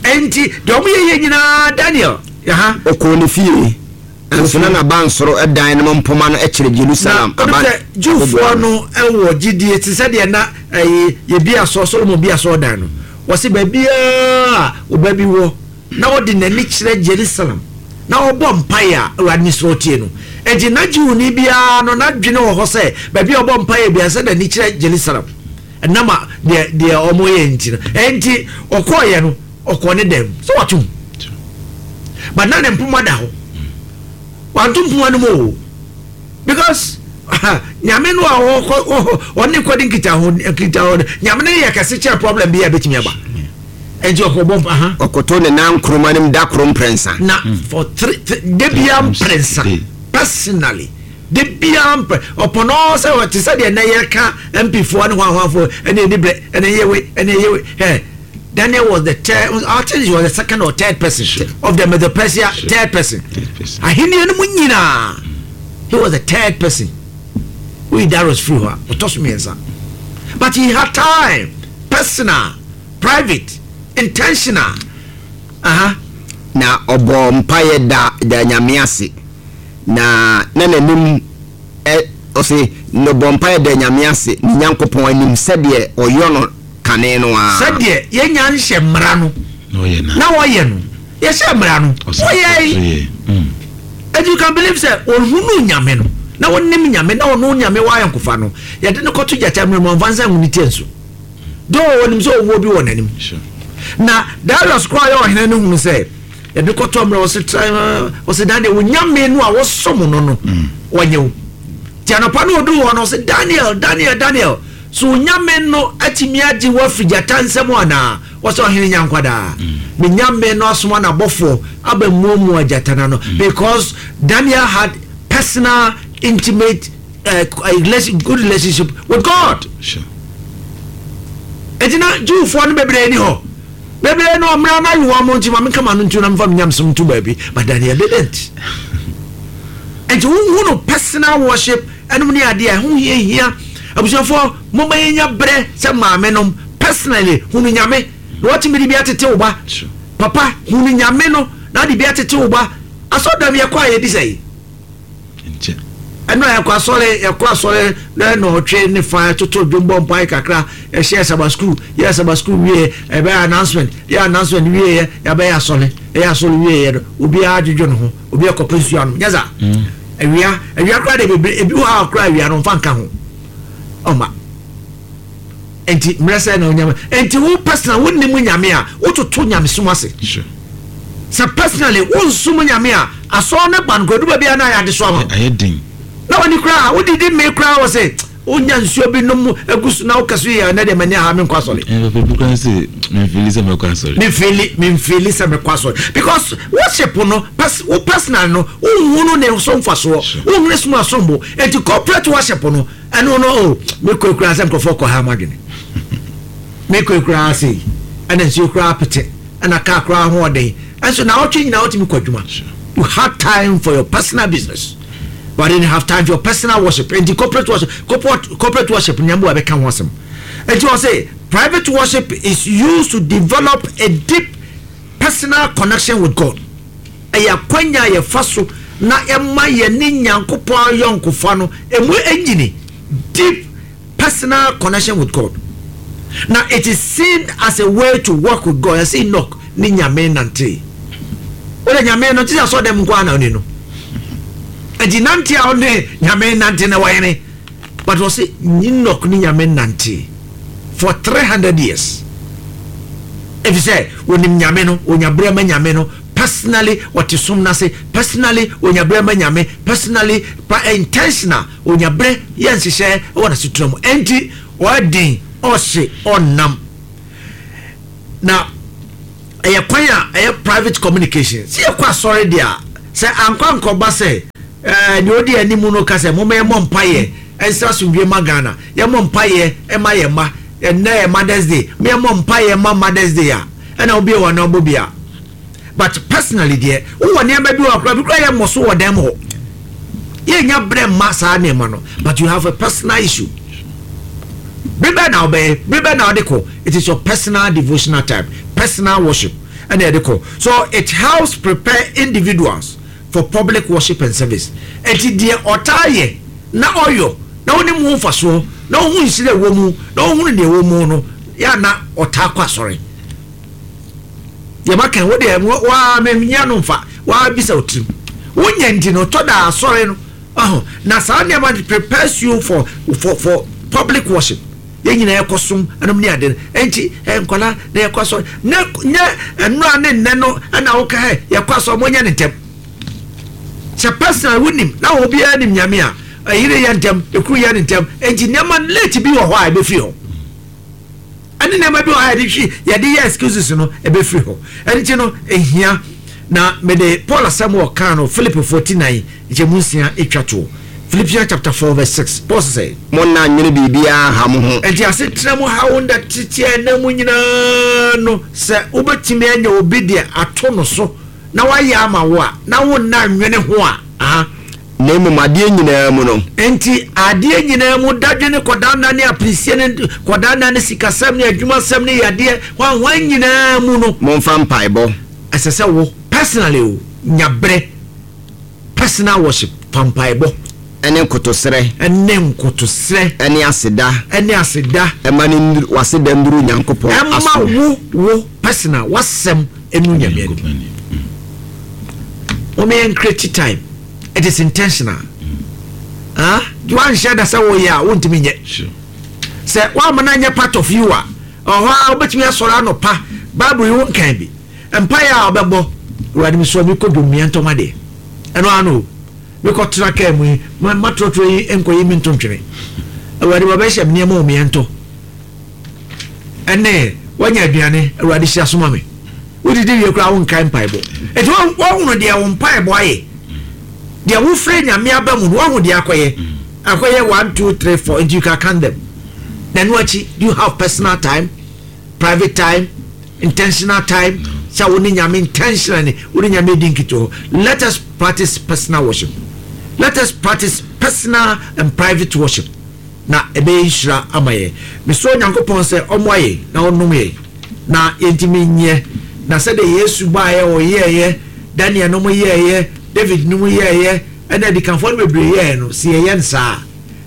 Ɛnti deɛ ɔmo yɛyɛ nyinaa, Daniel yaha. Ɔkɔɔ ne fie, nso na n'abansoro dan no mpoma no kyerɛ Jerusalem. Na ɔno sɛ Jewfoɔ no ɛwɔ gyidie te sɛ deɛ na ɛyɛ yɛbi asɔ Solomon bi asɔ dan no, wɔsi baabiara ɔba bi wɔ na wɔde n'ani kyerɛ Jerusalem na ɔbɔ mpaeɛ a, Awurade ne soro tie no. Enti na Jewni biara no n'adwene wɔ hɔ sɛ baabi a ɔbɔ mpaeɛ biara sɛ n'ani kyerɛ Jerusalem, ɛnam a deɛ deɛ ɔmo yɛ nti no. Enti ɔkɔɔyɛ no, ɔkɔɔ ne dɛm sɛ watum, but na ne mpoma da hɔ, wanto mpoma no mu o, because Nyame no a ɔkɔ ɔne kɔde nkitaho nkitaho no, Nyame no yɛ kɛse kyerɛ problem bi a ɛbɛtumi aba. Enti ɔkɔ bɔ mpa ha. Ɔkoto ne nan nkoroma no mu da koro mprɛnsa. Na for three three de bia mprɛnsa, personally, de bia mpɛ ɔpɔnɔ sɛ ɔte sɛ deɛ nɛ yɛka M P foɔ ne hwanhwanfoɔ ɛne ɛni brɛ ɛne ɛyɛ wei ɛne ɛyɛ wei. Ɛ Daniel was the third, I think he was the second or third person sure. of the Medo-Persia, sure. third person. Third person. Ahenni no mu nyinaa, he was the third person. Woyi Darius firi hɔ a, ɔtɔ so mmiɛnsa. But he had time, personal, private, intentional. Uh-huh. Na ɔbɔ mpaeɛ da da Nyame ase, na na n'anim ɛ ɔse na ɔbɔ mpaeɛ da Nyame ase ne Nyankopɔn anim sɛdeɛ ɔyɔ no kane no a. Sɛdeɛ yɛnya nhyɛ mmara no na wɔyɛ no, yɛhyɛ mmara no wɔyɛ yi. And you can believe sɛ ɔhunu Nyame no na wɔnim Nyame na ɔno Nyame wɔ ayɔnkofa no, yɛde no kɔto gyata mmerɛ mu, ɔmfa nsa ngu ne tie nso do, ɔnim sɛ owuo bi wɔ n'anim. Na Darius koraa yɛ ɔhene no hunu sɛ yɛde kɔtɔ mmerɛ, ɔse tra, ɔse Daniel, wo Nyame no a wɔsom no no wɔnyɛ wo. Nti anɔpa no ɔduru hɔ no, ɔse Daniel, Daniel, Daniel, so wo Nyame no atumi agye wo afiri gyata nsɛm anaa? Wɔsɛ ɔhene nya nkwadaa, me Nyame no asoma n'abɔfoɔ aba muamua gyata no ano, because Daniel had personal intimate uh, good relationship with God. Enti na Jewfoɔ no bebree ni hɔ, bebree no ɔmmra na ayi wɔn mo nti ma menka ma no ntu na mefa me nyamsom nto baabi, but Daniel didn't. Enti wohu no personal worship ɛnom ne adeɛ a ɛho hia hia. Abusuafoɔ, momma yɛnya berɛ sɛ maame nom personally hunu Nyame na watumi de bi atete wo ba. Papa, hunu Nyame no na ade bi atete wo ba. Asɔdam yɛkɔ a yɛdi sɛ ɛno a yɛkɔ asɔre, yɛkɔ asɔre na na ɔtwe ne fa toto dwom bɔ mpae kakra, yɛhyɛ Sabbath school, yɛ Sabbath school wie, ɛbɛyɛ announcement, yɛ announcement wie, yɛ yɛabɛyɛ asɔre, yɛyɛ asɔre wie yɛ no, obiara adwodwo ne ho, obiara kɔpɛ nsuo anom nyɛ sa awia awia koraa de bebree ebi wɔ ha koraa awia no nfa nka ho ɔma. Enti mmerɛ sɛ na onyame, enti wo personal wo nim Nyame a wototo nyamesom ase sɛ personally wo nsom Nyame a, asɔre ne ba no koraa duba biara na ayɛ adesoa ma ayɛ den na wani koraa wodidi mmee koraa wɔ sɛ wonya nsuo bi nom agu so na woka so yɛ ɛnɛ deɛ m'ani aha, menkɔ asɔre. Memfili sɛ mɛkɔ asɔre. memfili memfili sɛ mɛkɔ asɔre, because worship no pers wo personal no wohunu ne so mfasoɔ, wohunu ne som asombo. Enti corporate worship no ɛno no o, mekɔ kura sɛ nkurɔfoɔ kɔ ha ma adwene, mekɔ kura ase ɛna nsuo kura pete ɛna kaa kura ahoɔden, ɛnso na ɔtwe nyinaa wotumi kɔ adwuma. You had time for your personal business but you didn't have time for your personal worship. Enti corporate worship corporate corporate worship nyambo a bɛka ho asɛm. Enti wɔ sɛ private worship is used to develop a deep personal connection with God. Ɛyɛ akwanya a yɛfa so na ɛma yɛne Nyankopɔn ayɔnkofa no emu enyini, deep personal connection with God. Na it is seen as a way to work with God. Yɛsɛ Enoch ne Nyame nante, wode Nyame no te sɛ asɔ dɛm nko ana ɔne no, nti nante a ɔne Nyame nante na wɔyene, but wɔsɛ Enoch ne Nyame nante for three hundred years, ɛfiri sɛ wɔnim Nyame no, wɔnya berɛ ma Nyame no personally, wɔte som no ase personally, wɔnya berɛ ma Nyame personally, pa intentional, wɔnya berɛ yɛ nhyehyɛ wɔ n'asetena mu. Ɛnti ɔyɛ ɔhye ɔnam na ɛyɛ kwan a ɛyɛ private communication. Sɛ yɛkɔ asɔre deɛ a, sɛ ankɔ ankɔba sɛ ɛɛ deɛ ɔdi anim no ka sɛ moma yɛmmɔ mpayɛ Ɛnsra asomdwie ma Ghana. Yɛmmɔ mpaeɛ ɛma yɛn mma. Ɛnnɛ yɛ Mother's Day, mo yɛmmɔ mpaeɛ ma Mother's Day a ɛna wobie wɔ na wobɔ bi a. But personally deɛ, wowɔ nneɛma bi wɔ akora bi kora yɛ mmɔ so wɔ dan mu hɔ, yɛnya berɛ mma saa nneɛma no. But you have a personal issue, bere bɛɛ na wobɛyɛ, bere bɛɛ na wode kɔ. It is your personal devotional time, personal worship ɛna yɛde kɔ. So it helps prepare individuals for public worship and service. Eti deɛ ɔtaa yɛ na ɔyɔ na wonim ho mfasoɔ na wohu nhyira ɛwɔ mu na wohunu deɛ ɛwɔ mu no yɛ na ɔtaa kɔ asɔre. Yɛba kan wo deɛ, waa menya no mfa waa bisa wo tirim wonya nti no tɔ da asɔre no ɔho na saa nneɛma no prepares you for for for public worship. Yɛn nyinaa yɛkɔ som ɛnom ne ade no. Ɛnti ɛ nkɔla na yɛkɔ asɔre ne nyɛ nnura ne nnɛ no ɛna woka ɛ yɛkɔ asɔre mo nyɛ ne ntɛm sɛ personal wonim na obiara nim Nyame a ɛyere yɛ ntɛm, ekuru yɛ ne ntɛm. Ɛnti nneɛma late bi wɔ hɔ a ɛbɛfiri hɔ, ɛne nneɛma bi wɔ hɔ a yɛde hwi yɛde yɛ excuses no ɛbɛfiri hɔ. Ɛnti no ehia na mede Paul asɛm wɔ kan no, Philip forty nine nkyɛmu nsia etwa toɔ, Philippians chapter four verse six, Paul sɛ, "Monna nwene biribiara ha mo ho." Nti asetena mu hawo nda tete ɛna mu nyinaa no, sɛ wobɛtumi anya obi deɛ ato no so na wayɛ ama wo a na wonna nwene ho a, aha. Na mmom adeɛ nyinaa mu no, Nti adeɛ nyinaa mu, dadwene kɔdanna ne apirisie ne kɔdanna ne sikasɛm ne adwumasɛm ne yadeɛ hwanhwan nyinaa mu no, momfa mpaebɔ ɛsɛ sɛ wo personally o nya berɛ personal worship, fa mpaebɔ ɛne nkotosrɛ ɛne nkotosrɛ ɛne aseda ɛne aseda ɛma ne nduru waseda nduru Nyankopɔn ɛma aso. wo wo personal wasɛm ɛnu Nyame anim. Wɔn yɛn create time, it is intentional. Ah, wanhyɛ da sɛ wɔyɛ a wontumi nyɛ. Sure. Sɛ woama no anyɛ part of you a, ɔhɔ a wobɛtumi asɔre anɔpa, Bible yi wo nkan bi, mpaeɛ a wobɛbɔ, "Awurade, mesrɛ, mekɔ dwom ntɔm adeɛ," ɛno ano o, mekɔtena kaa mu yi, ma- matorɔtorɔ yi nkɔyi me nto ntwene, Awurade, wɔbɛhyɛ me nneɛma wɔ meɛntɔ ɛne wanya aduane, Awurade hyira soma me. Wodidi wie koraa, wonkae mpaebɔ. Ɛnti woahunu deɛ wo mpaebɔ ayɛ, deɛ wofrɛ Nyame aba mu no, woahu deɛ akɔyɛ akɔyɛ one, two, three, four. Nti you can count them. Na ɛno akyi, do you have personal time, private time, intentional time sɛ wo ne Nyame intentionally wo ne Nyame di nkitoho? Let us practice personal worship. Let us practice personal and private worship na ɛbɛyɛ nhyira ama yɛn. Mesrɛ Onyankopɔn sɛ ɔmmoa yɛn na ɔnom yɛn na yɛntumi nyɛ na sɛdeɛ Yesu baeɛ ɔyɛɛyɛ, Daniel nom yɛɛyɛ, David nom yɛɛyɛ, ɛna adikanfoɔ no bebree yɛɛ no, sɛ yɛyɛ no saa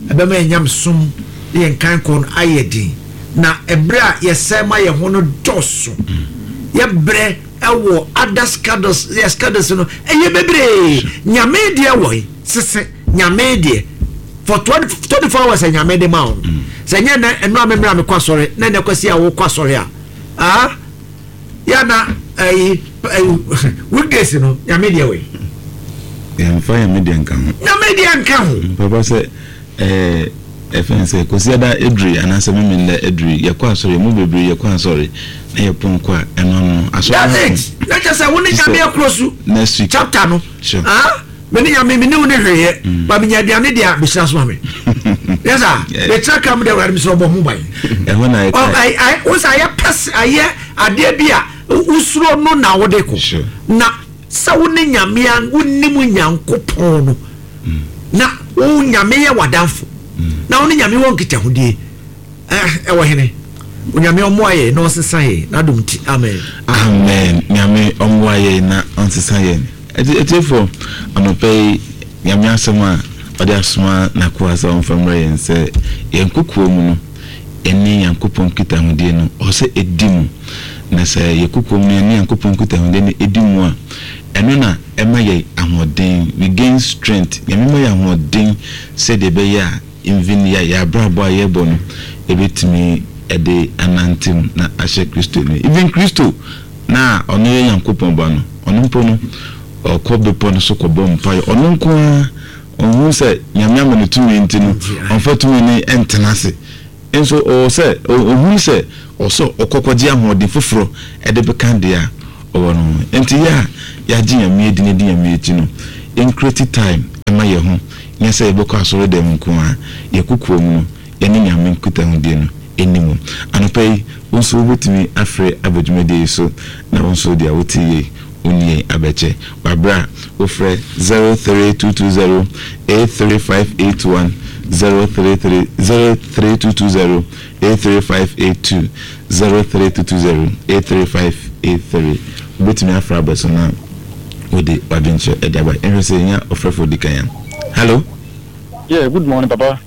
a, ɛbɛma yɛn nyam som ne yɛn kan kɔ no ayɛ den. Na ɛberɛ a yɛsɛe ma yɛn ho no dɔɔso, yɛbrɛ ɛwɔ other schedules, yɛ schedules no ɛyɛ bebree. Nyame deɛ wɔ yi sese Nyame deɛ for twenty four hours a Nyame de ma wo no, sɛ nyɛ nɛ ɛno a memmerɛ a mekɔ asɔre na ɛnɛ kwasi a wokɔ asɔre a, ah, yɛ na ɛyi ɛyi weekdays no, Nyame deɛ wɔ yi Yɛmfa Nyame deɛ nka ho. Nyame deɛ nka ho. Papa, sɛ ɛɛ ɛfɛn sɛ Kwasiada eduri anaasɛ Memenda eduri, yɛkɔ asɔre mu bebree, yɛkɔ asɔre na yɛpɔn kɔ a, ɛno ano asɔre. That's it. Na kyerɛ sɛ wo ne Nyame akuro so next week chapter no. Sure. Ah, me ne Nyame, me ne wo ne hweyɛ ba menya aduane deɛ a mehyira so ma me yes a Yeah. mekyerɛ ka mu deɛ, Awurade, mesrɛ ɔbɔ ho ban. Ɛhɔ na Ɔ- yɛka. ai- ai- wo sɛ ayɛ pɛs ayɛ adeɛ bi a wosuro no na wode kɔ. Sure. Na sɛ wo ne Nyame a wonim Nyankopɔn no na wo Nyame yɛ w'adamfo na wo ne Nyame wɔ nkitahodie, eh, ɛwɔ hene? Onyame ɔmmoa yɛ na ɔnsesa yɛ n'adom nti. Amen. Amen. Nyame ɔmmoa yɛn na ɔnsesa yɛn. Ɛti ɛtiɛfoɔ, anɔpɛ yi Nyame asɛm a ɔde asoma n'akoa sɛ ɔmfa mmerɛ yɛn sɛ yɛn kokoa mu no ɛne Nyankopɔn nkitahodie no ɔwɔ sɛ ɛdi mu. Na sɛ yɛ kokoa mu no yɛne Nyankopɔn nkitahodie no ɛdi mu a, ɛno na ɛma yɛ ahoɔden. We gain strength. Nyame ma yɛ ahoɔden sɛdeɛ ɛbɛyɛ a even yɛ yɛ abrabɔ a yɛbɔ no ɛbɛtumi ɛde anante mu na ahyɛ Kristo ni. Even Kristo na ɔno yɛ Nyankopɔn ba no, ɔno mpo no ɔkɔ bepɔ no so kɔbɔ mpaeɛ ɔno nko ara. Ɔhu sɛ Nyame ama no tumi nti no, ɔmfa tumi no ɛntena ase nso ɔwɔ sɛ ɔhunu sɛ ɔsɛ ɔkɔkɔgye ahoɔden foforɔ ɛde bɛka deɛ a ɔwɔ no ho. Nti yɛ a yɛagye Nyame adi na di Nyame akyi no Yɛn create time ɛma yɛn ho, nyɛ sɛ yɛbɛkɔ asɔre dɛm nko a, yɛkokoɔ mu no yɛne Nyame nkutahodie no ɛni mu. Anɔpa yi, wo nso wobɛtumi afrɛ aba dwumadie yi so, na wo nso deɛ wote yie wo ne yɛn abɛkyɛ. Wabrɛ a wofrɛ zero three two two zero eight three five eight one, zero three three zero three two two zero eight three five eight two, zero three two two zero eight three five eight three. Wobɛtumi afrɛ aba so na wode wadwenkyerɛ ɛde aba. Ɛhwɛ sɛ yɛnya ɔfrɛfoɔ di kan a. Hello. Yeah, good morning, Papa.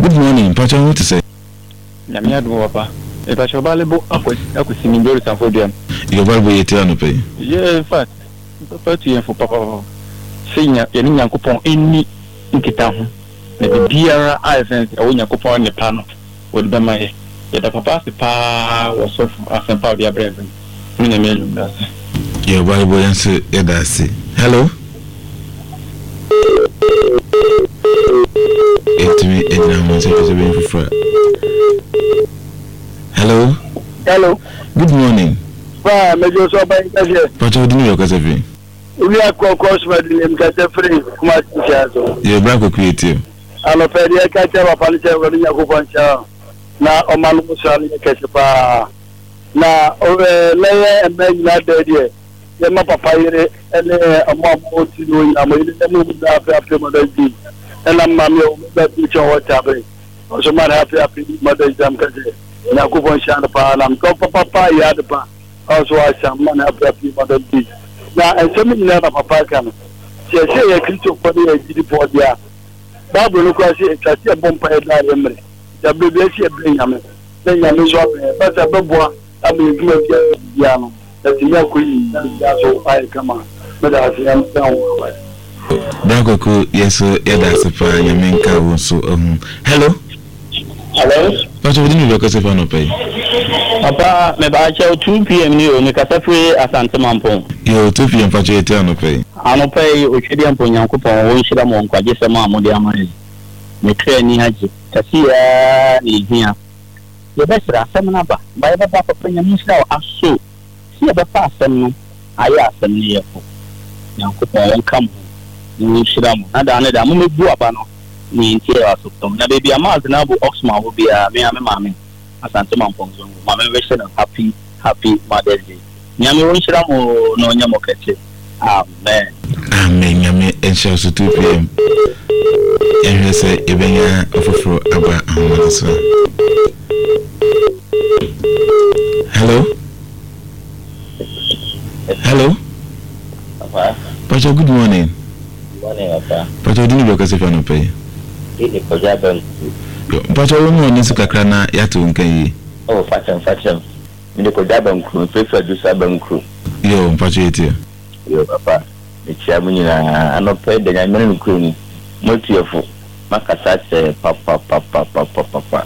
Good morning. Mpakyɛ, ho te sɛ? Nyame adom, papa. Mepakyɛ, ɔbaale bo akɔsi mi Joris Amfo-Duam. Yɛ ɔbaale bo, yɛ tie anɔpa yi. Yeah, in fact, papa tu yɛn fo papa sɛ yɛne Nyankopɔn ɛnni nkita ho na biribiara a ɛsɛn sɛ ɛwɔ Nyankopɔn nipa no wɔde bɛma yɛ. Yɛda papa ase paa wɔ sɔfo asɛmpa a ɔde abrɛ yɛn. Ne Nyame adwuma ase. Yɛ ɔbaale bo, yɛn nso yɛda ase. Hello. Ɛtumi ɛgyina ho sɛ hwɛ sɛ bɛyɛ foforɔ a. Hello. Hello. Good morning. Ba, mɛjọ sọ ọba yín kẹsẹ̀. Pàtó odi ní yɛ ɔkasa fi. Orí akọkọ sọmọdé ní kẹsẹ̀ firi Kumasi ṣe àṣọ. Yɛ ɔbra kɔkɔ yɛ tie. Anɔpɛ deɛ ɛka kyerɛ papa no sɛ Awurade Nyankopɔn nkyɛn na ɔma no mo sra no yɛ kɛse paa. Na ɔbɛ lɛyɛ mmaa nyinaa dɛ deɛ yɛma papa yere ɛne ɔmo a mo ti no nyinaa, mo yere ne mo nyinaa, happy happy Mother's Day. Ɛna maame a ɔmo bɛ ti kyɛn wɔ kyabere ɔso ma no happy happy Mother's Day. Am kɛse Nyankopɔn hyia no paa na mtɔ papapa yɛ ade pa ɔso ahyɛ ma no happy happy Mother's Day. Na nsɛm nyinaa na papa ka no sɛ sɛ yɛ Kristofoɔ ne yɛ gyidifoɔ deɛ a, Bible no koraa sɛ ɛtwa sɛ yɛbɔ mpa yɛ daa yɛ mmerɛ yɛberɛ bi asi yɛbrɛ Nyame na Nyame nso abɛn bɛsɛ bɛboa ama yɛdwuma biara biara no ɛtumi akɔ yi na biribiara so ayɛ kama. Mɛda ase, Nyame ka ho abae. Bra kɔkɔ, yɛ so yɛda ase paa. Nyame nka wo nso ho. Hello. Hello. Pàtó odi ní yɛ ɔkasa fi anɔpa yi. Papa, mebakyɛw, two P M ni o, mekasa firi Asante Mampɔn. Yɛ two P M, pàtó yɛ tie anɔpa yi. Anɔpa yi, Otwedeɛ mpo Nyankopɔn wɔnhyira mo nkwagyesɛm a mode ama yɛn. Mekra ani agye. Kɛseɛ na ɛhia. Yɛbɛsrɛ asɛm no aba. Ba yɛbɛba, papa, Nyame nhyira wo aso. Si yɛbɛfa asɛm no ayɛ asɛm no yɛfo. Nyankopɔn wɔnka mo ho na wɔnhyira mo. Na daa ne daa mommɛbu aba no ne yɛntie wɔ asopɔm. Na baabi a Maas na abo Oxman wɔ biara, me a me maame Asante Mampɔn Zongo. Maame mbɛhyɛ no happy happy Mother's Day. Nyame wɔnhyira mo na ɔnyɛ mo kɛse. Amen. Amen. Nyame nhyira so. two P M, yɛhwɛ sɛ yɛbɛnya ɔfoforɔ aba ahoma no so a. Hello, hello. Papa. Pacho, good morning. Morning, Papa. Pacho, odi ne bi ɔkasa fi anɔpa yi. Ede kɔgya banku. Pacho, wo mu ɔne so kakra na yɛato wo nka yie. Oh, fakyɛm, fakyɛm. Mede kɔgya banku, mfefe adusa banku. Yo, mpacho, yɛtie. Yo, papa. Mekyia mo nyinaa. Anɔpa yi da Nyame ne nokorɛ ni. Moatuafo. Makasa kyerɛ papapapapapapa.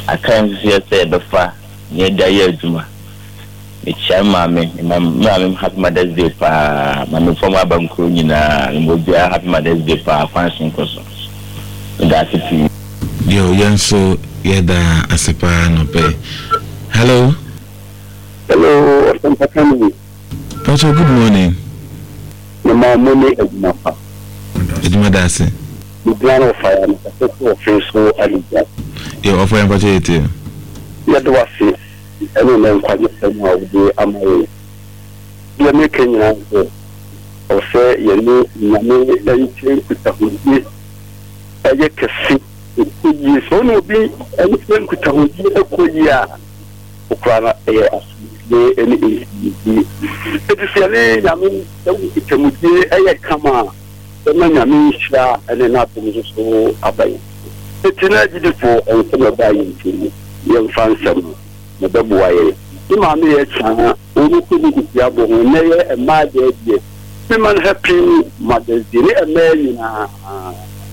Aka nso so yɛ sɛ yɛbɛfa na yɛde ayɛ adwuma. Mekyia me maame, me maame, happy Mother's Day paa. Maame fam aba nkuro nyinaa. Mebɔ obiara happy Mother's Day paa, kwan so nkɔ so. Meda ase pii. Yo, yɛn nso yɛda ase paa anɔpa yi. Hello. Hello, ɔsɛmpakani. Pacho, good morning. Mema mo ne adwuma pa. Adwuma da ase. Mebia no ɔfa ya no kɛsɛ sɛ ɔfe so aligya. Yo, ɔfa yɛn, mpacho, yɛtie. Yɛde wase ɛne ne nkwagye sɛm a wode ama yɛn. Deɛ meka nyinaa sɛ ɔsɛ yɛne Nyame nkyɛn nkutahodie ɛyɛ kɛse, ɛkɔ yie. Sɛ wone obi nkyɛn nkutahodie ɛkɔ yie a, wokora no ɛyɛ asomdwie ne nhyimdie. Ɛti sɛ yɛne Nyame ɛwɔ nkutamudie ɛyɛ kama a, bɛma Nyame nhyira ɛne n'adom nso so aba yɛn. Ɛti na agyidifoɔ nsɛm ɛbaa yɛn nkyɛn mu, yɛmfa nsɛm no na ɛbɛboa yɛn. Ne maame yɛ kyaa wɔn kɔ ne kusi abɔ ho nnɛ yɛ mmaa deɛ deɛ mema no happy Mother's Day ne mmaa nyinaa.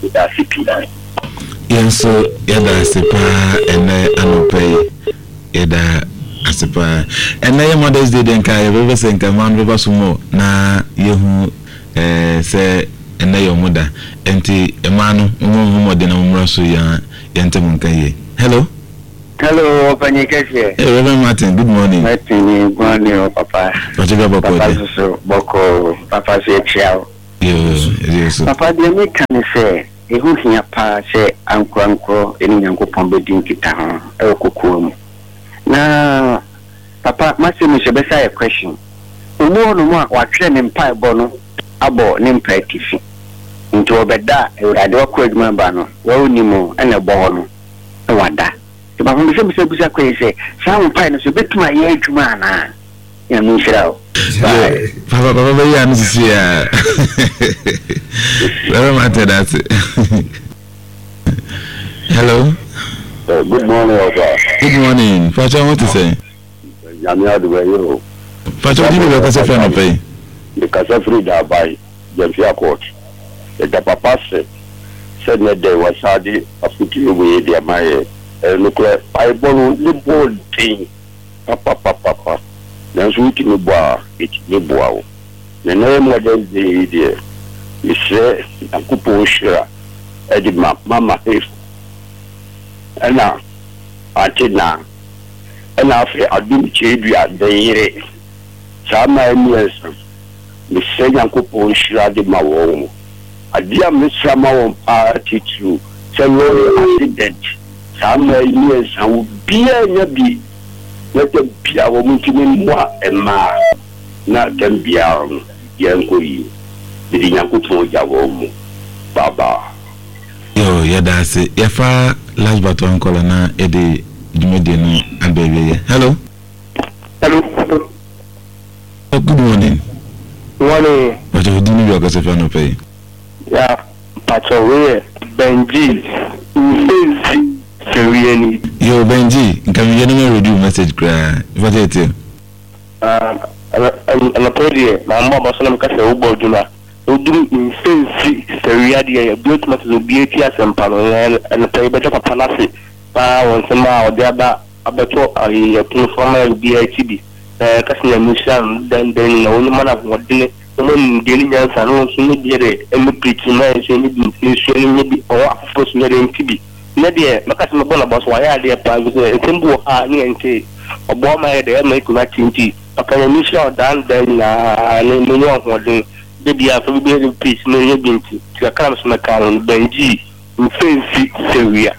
Meda ase pii. Yɛn nso yɛda ase paa ɛnɛ anɔpa yi. Yɛda ase paa. Ɛnɛ yɛ Mother's Day deɛ, nka yɛbɛbɛ sɛ nka mmaa no bɛba so mmɔ na yɛhu ɛɛ sɛ ɛnɛ yɛ ɔmo da, nti mmaa no mo mo mmɔden na mo mmra so yɛn yɛn ntɛm nka yie. Hello. Hello, ɔpanyin kɛseɛ. Hey, Reverend Martin, good morning. Martin, good morning, o papa. Pàtó bí abɔkɔ Papa deɛ. Soso bɔkɔ, papa so ekyia o. Yoo, so. Papa deɛ meka ne sɛ ɛho hia paa sɛ ankorankorɔ ɛne Nyankopɔn bɛdi nkitaho ɛwɔ kokoa mu. Na papa masɛm sɛ bɛsa yɛ question. Omu hɔ nom a watwerɛ ne mpaebɔ no abɔ ne mpa atifi. Nti wɔbɛda a Awurade wakɔ adwuma ba no, wɔwonim ɛna ɛbɔ hɔ no na wada. Nti papa mesɛ bisa bisa kɔ yi sɛ saa wo mpae no so bɛtumi ayɛ adwuma anaa? Nyame nhyira wo. Bye. Papa papa bɛyi ano sisi a. Bɛrɛ ma tɛ dase. Hello. Uh, good morning, Oga. Good morning. Pacha, what to say? Nyame adom ɛyɛ o. Pacha, odi bɛ kasa fɛ anɔpɛ yi. Mekasa firi Daabae, Gyamfia Court. Yɛda papa se sɛ nnɛ dɛ wasa de afotuo wei de ama yɛ. Ɛyɛ nokorɛ, mpaebɔ no ne bɔɔ den papapapapa. Nanso wotumi bɔ a, ɛtumi boa wo. Na nnɛ yɛ Mother's Day yi deɛ, mesrɛ Nyankopɔn hyira ɛde ma Mama Hefo ɛna Ante Na ɛna afei Adom Kyerɛdua bɛyere saa mmaa mmiɛnsa. Mesrɛ Nyankopɔn hyira de ma wɔn mo. Adeɛ a mesrɛ ma wɔn paa titiriw sɛ lorry accident saa mmaa mmiɛnsa obiara nya bi na da bia wɔn ntumi mmoa mmaa na tam biara no yɛnkɔ yie. Mede Nyankopɔn gya wɔn mo. Bye bye. Yo, yɛda ase. Yɛfa last but one caller na yɛde dwumadie no aba awieɛ. Hello. Hello. Oh, good morning. Morning. Pacha, odi ni bi akasa fɛ anɔpɛ yi. Ya, Pacha, wei yɛ Benji Mfensi Fɛwiani. Yo, Benji, nka mi yɛ no ma read message koraa. Pacha etie. Anɔpɛ deɛ, maa mbɔ abɔ so na meka sɛ wobɔ adwuma. Woduru Mfensi Fɛwia deɛ, ebi otuma sɛ obi eti asɛmpa no, anɔpɛ yi bɛda papa n'ase paa wɔ nsɛm a ɔde aba abɛto ayi ɛpono so ama obiara akyi bi. Ɛɛ kasi Nyame nhyira no dan dan nyinaa wɔn nyɛ ahoɔden wɔn nimdeɛ ne nyansa na wɔn nso nye bi de ɛmɛ pirikyi na nso nye bi nsua no nye bi ɔwɔ afoforɔ so nye de nti bi. Ne deɛ mɛka sɛ mɛbɔ n'abɔ so wayɛ adeɛ paa bi sɛ nsɛm bi wɔ ha ne yɛn nte ɔbɔ ɔma yɛ dɛ ɛma ekuma akyi nti papa Nyame nhyira ɔdan dan nyinaa ne mo nyɛ ahoɔden de bi afa bi bi de pirikyi na nye bi nti ti kakra mi so mɛka no Benji Mfensi Sewia.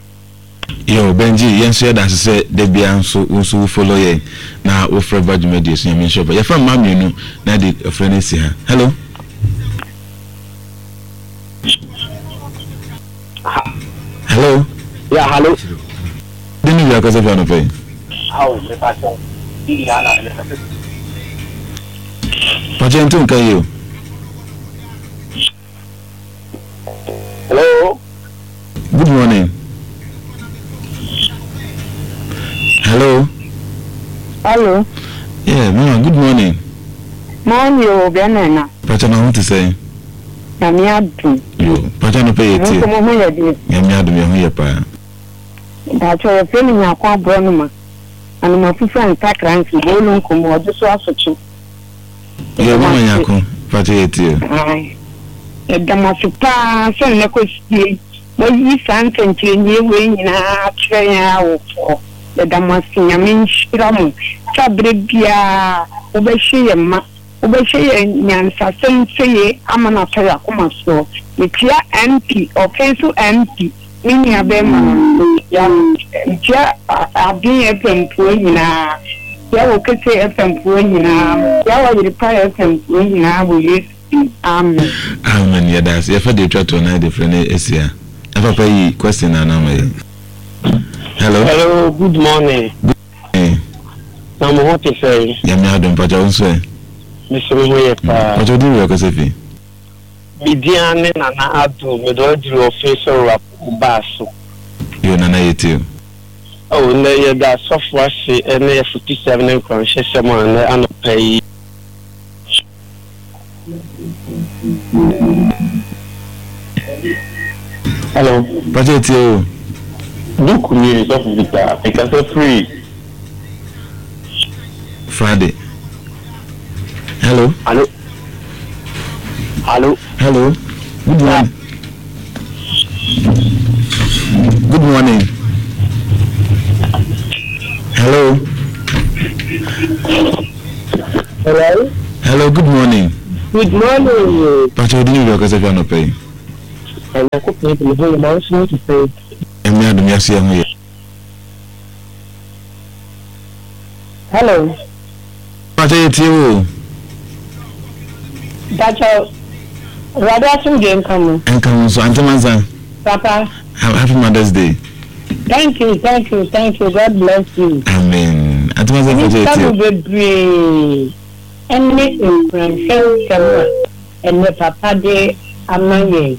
Yo, Benji, yɛn nso yɛda ase sɛ da biara nso wo nso wo follow yɛn na wofrɛ ba dwumadie so. Nyame nhyira wo. Yɛfa mmaa mmienu na de ɔfrɛ no asi ha. Hello. Hello. Yeah, hello. Di ni bi akasa fi anɔpɛ yi. Awo, mepa kyɛw. Di na na mekasa. Pacha, nto nka yi o. Hello. Good morning. Hello. Hello. Yeah, mama, good morning. Morning, o Bɛnɛ. Pacha, na ho te sɛ? Nyame adum. Yo, pacha no pɛ yɛ tie. Mo ho yɛ deɛ. Nyame adum yɛ ho yɛ paa. Mpakyɛ yɛfrɛ me Nyako aborɔ no ma. Anoma fufu a ntakra nsi boolu nkɔmmɔ ɔde so asokye. Yo, mama Nyako, pacha yɛ tie. Aye. Ɛda mo ase paa sɛ nnɛ kɔsie. Moayi saa nsɛnkyerɛnneɛ wei nyinaa akyerɛ yɛn awofoɔ. Yɛda mo ase. Nyame nhyira mo. Sɛ aberɛ biara wobɛhyɛ yɛn ma. Wobɛhyɛ yɛn nyansasɛm sɛye ama no atɔ yɛn akoma soɔ. Metia M P, ɔfɛn so M P, me nua bɛrima no, metia metia Aden F M foɔ nyinaa. Metia wɔ Kese F M foɔ nyinaa. Metia wɔ Yerepa F M foɔ nyinaa wɔ Yesu din. Amen. Amen. Yɛda ase. Yɛfa deɛ atwa toɔ na yɛde frɛ no asi ha. Na papa yi question na anam yɛ. Hello. Hello, good morning. Good morning. Na mo ho te sɛn? Nyame adom, pacha, wo nso ɛ? Mesɛ me ho yɛ paa. Pacha, odi wia kasa fi. Me din ne Nana Ado, mede waduru ɔfe sɔrɔ baa so. Yo, Nana, yɛ tie o. Oh, nnɛ yɛda asɔfo ase ne afotusɛm ne nkɔmhyɛsɛm a nnɛ anɔpa yi. Hello. Pacha, yɛ tie o. Duku ni sɔfo Victor, mekasa firi Friday. Hello. Hello. Hello. Hello. Good morning. Good morning. Hello. Hello. Hello, good morning. Good morning. Pakyɛ wodin ne baabi a wokasa fi anɔpa yi. Onyankopɔn de me ho yɛ ma wo nso ho te sɛn? Nyame adom yɛaso yɛn ho yɛ. Hello. Pakyɛ yɛtie wo o. Pakyɛ Awurade asomdwe nka mo. Nka wo nso Auntie Mansa. Papa. Happy Mother's Day. Thank you, thank you, thank you. God bless you. Amen. Auntie Mansa pakyɛ yɛtie. Nhyira mo bebree ɛne nkuranhyɛ nsɛm a ɛnɛ papa de ama yɛn.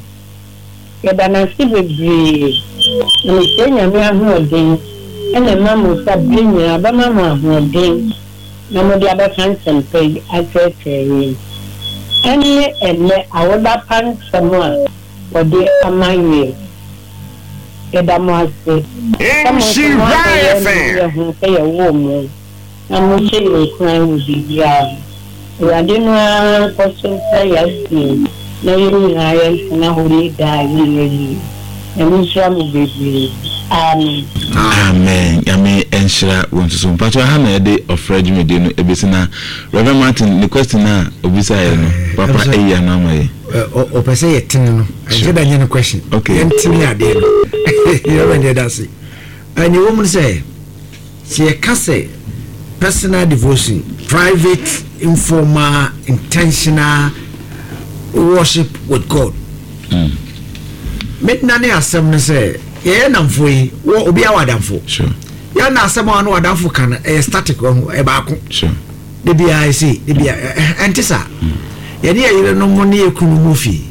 Yɛda no ase bebree na mesrɛ Nyame ahoɔden na ɛma mo nsa bere nyinaa ɔbɛma mo ahoɔden na mode abɛka nsɛmpa yi akyerɛkyerɛ yɛn. Ɛne ɛnnɛ awoda pa nsɛm a wɔde ama yɛn. Yɛda mo ase sɛ mo nso moabɛyɛ anigyeɛ ho sɛ yɛwoo mo na mohyɛ yɛn nkuran wɔ biribiara ho. Awurade no ara nkɔ so ntra yɛn aseɛ na yɛn nyinaa yɛntena hɔ nni daa a ɛnni awieɛ. Nyame nhyira mo bebree. Amen. Amen Nyame nhyira wo nso so. Mpakyɛw aha na yɛde ɔfrɛ dwumadie no ɛbɛsi na Rev Martin ne question a obisaeɛ no papa ayi ano ama yɛn. Ɔpɛ sɛ yɛtene no ɛnhyɛ da nyɛ no question yɛntene adeɛ no Rev yɛda ase. Nea ɛwɔ mu ne sɛ sɛ yɛka sɛ personal devotion, private, informal, intentional worship with God. Mm. Me nane asɛm no sɛ yɛyɛ nnamfo yi wɔ obiara wɔ adamfo. Sure. Yɛn na asɛm a ɔno adamfo ka no ɛyɛ static wɔ ho ɛyɛ baako. Sure. De biara ɛsɛ de biara ɛnte saa. Mm. Yɛne yɛ yerenom ne yɛ kunu mu fie.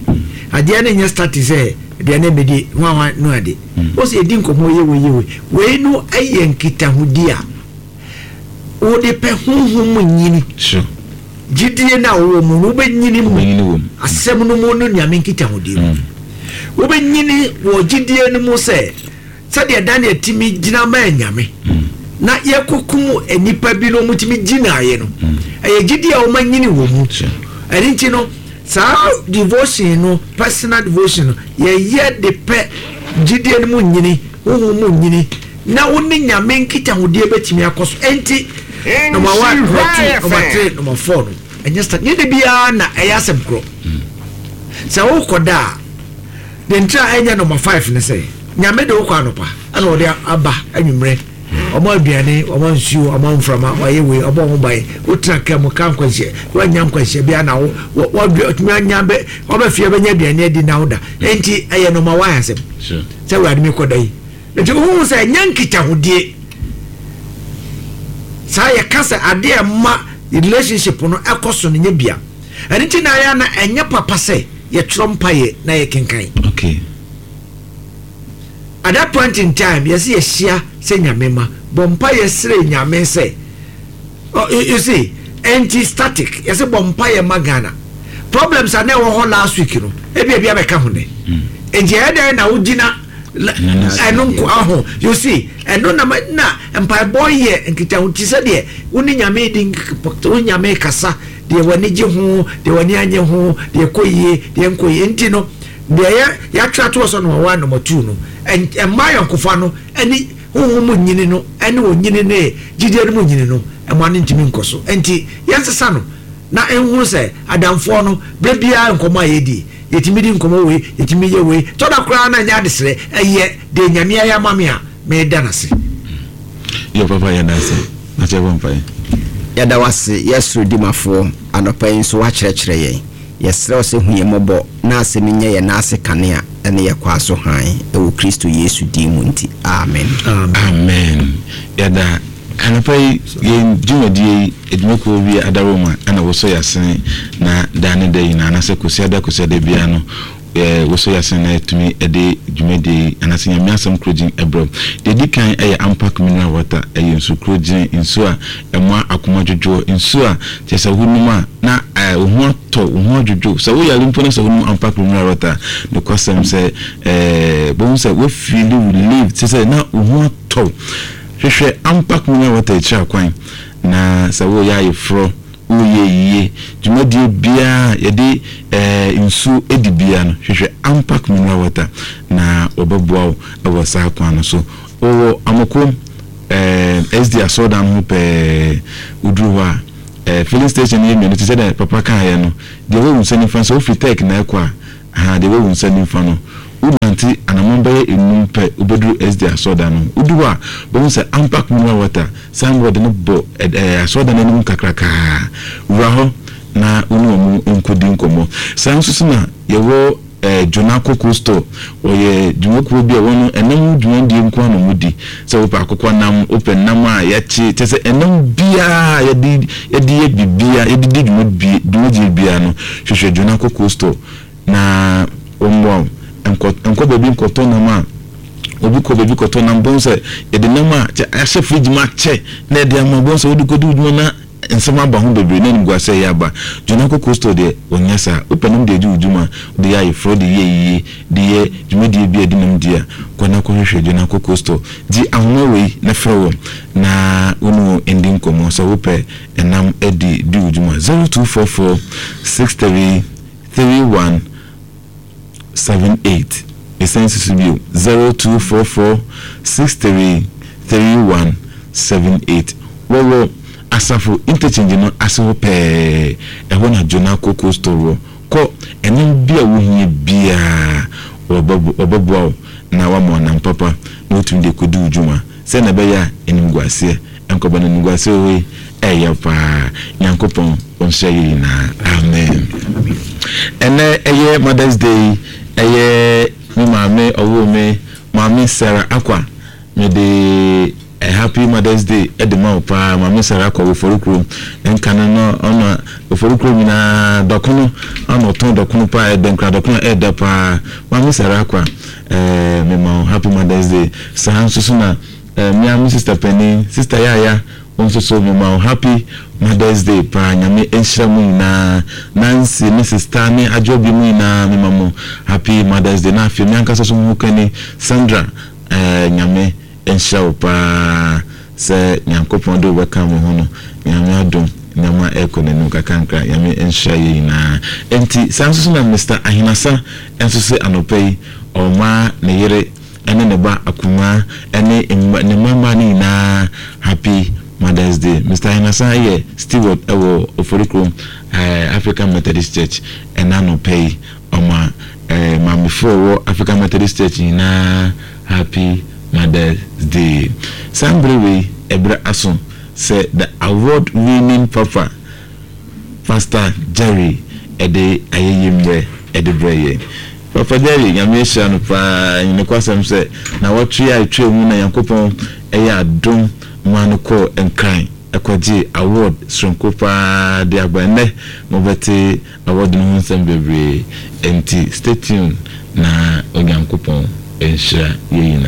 Adeɛ no nyɛ static sɛ aduane mmedi hwanhwan no ade. Mm. Wo sɛ yɛdi nkɔmmɔ yɛ wei yɛ wei. Wei no yɛ nkitahodi a wode pɛ honhom mu nyini. Sure. Gyidie no a wowɔ mu no wobɛnyini mu. Wobɛnyini wɔ mu. Asɛm no mu no Nyame nkitahodi mu. Mm. Wobɛnyini wɔ gyidie no mu sɛ sɛdeɛ Daniel tumi gyina maa Nyame mm. na yɛkɔkum nnipa bi no wɔtumi gyinaeɛ no. Mm. Ɛyɛ gyidie a wɔanyini wɔ mu. Sure. Ɛno nti no saa devotion no personal devotion no yɛyɛ de pɛ gyidie no mu nyini, honhom mu nyini na wo ne Nyame nkitahodie bɛtumi akɔ so. Enti number one, number two, number three, number four no ɛnyɛ start nyɛ de biara na ɛyɛ asɛm korɔ. Sɛ wokɔ da a de ntra ɛnyɛ number five ne sɛ Nyame de wokɔ anɔpa ɛna ɔde aba anwummerɛ ɔma aduane ɔma nsuo ɔma mframa ɔyɛ wei ɔbɔ ho ban wotena kaa mu ka nkwanhyia woanya nkwanhyia biara na wo wɔtumi anya bɛ ɔbɛ fie bɛnya aduane adi na woda enti ɛyɛ number one asɛm sɛ Awurade mekɔ da yi nti wohu sɛ ɛnyɛ nkitahodie saa yɛka sɛ adeɛ a ɛma relationship no ɛkɔ so no nyɛ bia ɛno nti na ayɛ na ɛnyɛ papa sɛ yɛtwerɛ mpaeɛ na yɛkenkan. Okay. At that point in time yɛsɛ yɛhyia sɛ Nyame ma bɔ mpaeɛ srɛ Nyame sɛ oh, you, you see ɛnti static yɛsɛ bɔ mpaeɛ ma Ghana problems a na ɛwɔ hɔ last week no ebi ebi abɛka ho nɛ nti ɛyɛ dɛn na wogyina ɛno nko aho you see ɛno na na mpaebɔ yɛ nkitaho ti sɛ deɛ wo ne Nyame di wo Nyame kasa deɛ w'ani gye ho deɛ w'ani anye ho deɛ ɛkɔ yie deɛ nkɔ yie nti no deɛ yɛ yɛatwerɛ ato hɔ sɛ number one number two no ɛmma ayɔnkofa no ɛne honhom mu nyini no ɛne onyini ne gyidie no mu nyini no ɛma no ntumi nkɔ so nti yɛnsesa no na nhunu sɛ adamfoɔ no berɛ biara nkɔmmɔ a yɛdi yɛtumi di nkɔmmɔ wei yɛtumi yɛ wei tɔ da koraa na nyɛ adesrɛ ɛyɛ deɛ Nyame ayɛ ama me a meda no ase. Yo papa yɛda ase na kyɛ bɔ mpaeɛ. Yɛda wo ase yɛ soro dimafoɔ anɔpa yi nso woakyerɛkyerɛ yɛn. Yɛsrɛ wo sɛ hu yɛn mmɔbɔ na asɛm yi nyɛ yɛn nan ase kanea ne yɛn kwaa so hann wɔ Kristo Yesu din mu nti, amen. Amen. Yɛda anɔpa yi yɛn dwumadie yi adwumakuo bi adaworoma na wosɔ yɛasene na daa ne da nyinaa anaasɛ Kwasiada Kwasiada biara no wosɔ yɛasene na yɛtumi de dwumadie yi anaasɛ Nyame asɛm korɔgyin brɛ wo. Deɛ ɛdi kan yɛ Ampak mineral water, ɛyɛ nsu korɔgyin, nsuo a ɛma akoma dwodwoɔ, nsuo a kyerɛ sɛ wonom a na wo ho atɔ, wo ho adwodwo. Sɛ woyare mpo na sɛ wonom Ampak mineral water a, nokwasɛm sɛ wobɛhu sɛ woafeeli relieved, kyerɛ sɛ na wo ho atɔ wo. Hwehwɛ Ampak mineral water akyiri akwan na sɛ woreyɛ ayeforɔ, woreyɛ ayie, dwumadie biara a yɛde nsuo di biara no, hwehwɛ Ampak mineral water na wɔbɛboa wo wɔ saa kwan no so. Wɔwɔ Amokom S D asɔredan no ho pɛɛ, woduru hɔ a, Eh, filling station no yɛ mmienu te sɛ dɛ papa kaeɛ no. Deɛ ɛwɔ wo nsa nifa sɛ wofiri Tech na ɛkɔ a, aha, deɛ ɛwɔ wo nsa nifa no, wonante anammɔn bɛyɛ nnum pɛ wobɛduru S D A asɔredan no ho. Wodu hɔ a, wobɛhu sɛ Ampak Mineral Water signboard no bɔ eh, asɔredan no anim kakrakaa. Wura hɔ na wo ne wɔn nkɔdi nkɔmmɔ. Saa nso so na yɛwɔ eh, Jonako Coastal. Wɔyɛ dwumakuo bi a wɔn ɛnam ho dwumadie nko ara na wɔdi. Sɛ wopɛ akokɔ nam, wopɛ nam a yɛakye, kyɛ sɛ ɛnam biara yɛde yɛde yɛ biribiara, yɛde di dwumadie dwumadie biara no, hwehwɛ Jonako Coastal na wɔmmoa wo. Nkɔ nkɔ baabi nkɔtɔ nam a obi kɔ baabi kɔtɔ nam bɔn sɛ yɛde nam a kyɛ ahyɛ fridge mu akyɛ na yɛde ama bɔn sɛ wode kɔdi wo dwuma na nsɛm aba ho bebree na animguase ɛyɛ aba. Jonako Coastal deɛ, wɔnyɛ saa. Wopɛ nam de adi wo dwuma, wode yɛ ayeforɔ, de yɛ yie, de yɛ dwumadie bi a ɛde nam di a, kɔ na kɔhwehwɛ Jonako Coastal. Gye ahoma wei na frɛ wɔn na wo ne wɔn ndi nkɔmmɔ sɛ wopɛ ɛnam adi di wo dwuma: zero two four four six three three one seven eight. Ɛsan si so bio: zero two four four six three three one seven eight. Wɔwɔ Asafo Interchange no ase hɔ pɛɛ. Ɛhɔ na Jonako Coastal wɔ. Kɔ, ɛnam bi a wohia biara wɔbɛboa wo na wama ɔnam papa na wotumi de kɔdi wo dwuma sɛ na ɛbɛyɛ a animguaseɛ nkɔba no. Animguaseɛ wɔ yi ɛyɛ paa. Nyankopɔn ɔnhyɛ yɛ nyinaa. Amen. Ɛnɛ ɛyɛ Mother's Day. Ɛyɛ me maame ɔwoo me, Maame Sarah Akwa. Mede a happy Mother's Day ɛde ma wo paa, Maame Sarah Akwa wɔ Forikuro. Nka no no ɔno Oforikuro nyinaa dɔkono ɔna ɔtɔn dɔkono paa, ɛdɛ nkura dɔkono ɛɛdɛ paa. Maame Sarah Akwa, ɛɛ mema wo happy Mother's Day. Saa nso so na ɛɛ mmea me sister panin, Sister Yaya, wɔn nso so mema wo happy Mother's Day paa. Nyame nhyira mu nyinaa. Nancy ne sister ne adwobi mu nyinaa, mema mo happy Mother's Day. Na afei me ankasa so ho kani Sandra, ɛɛ Nyame nhyira wo paa sɛ Nyankopɔn de wobɛka mo ho no. Nyame adom, nneɛma ɛkɔ n'anim kakrankra. Nyame nhyira yɛ nyinaa. Nti saa nso so na Mister Ahenasa nso sɛ anɔpa yi ɔma ne yere ɛne ne ba akuma ɛne ne mma mmaa no nyinaa happy Mother's Day. Mister Ahenasa yɛ steward ɛwɔ Oforikrom ɛɛ African Methodist Church. Ɛna anɔpa yi ɔma ɛɛ maamefoɔ wɔ African Methodist Church nyinaa happy Mother's Day. Saa mbere wei, ɛbrɛ aso sɛ the award winning papa, Pastor Jerry, ɛde ayɛyie mmerɛ ɛde brɛ yɛn. Papa Jerry, Nyame ahyira no paa. Nokwasɛm sɛ na wɔtwe a ɛtwa mu na Nyankopɔn ɛyɛ adom ma no kɔɔ Nkran ɛkɔgye award soronko paa de aba. Nnɛ mobɛte award no ho nsɛm bebree, nti stay tuned na Onyankopɔn nhyira yɛ nyinaa.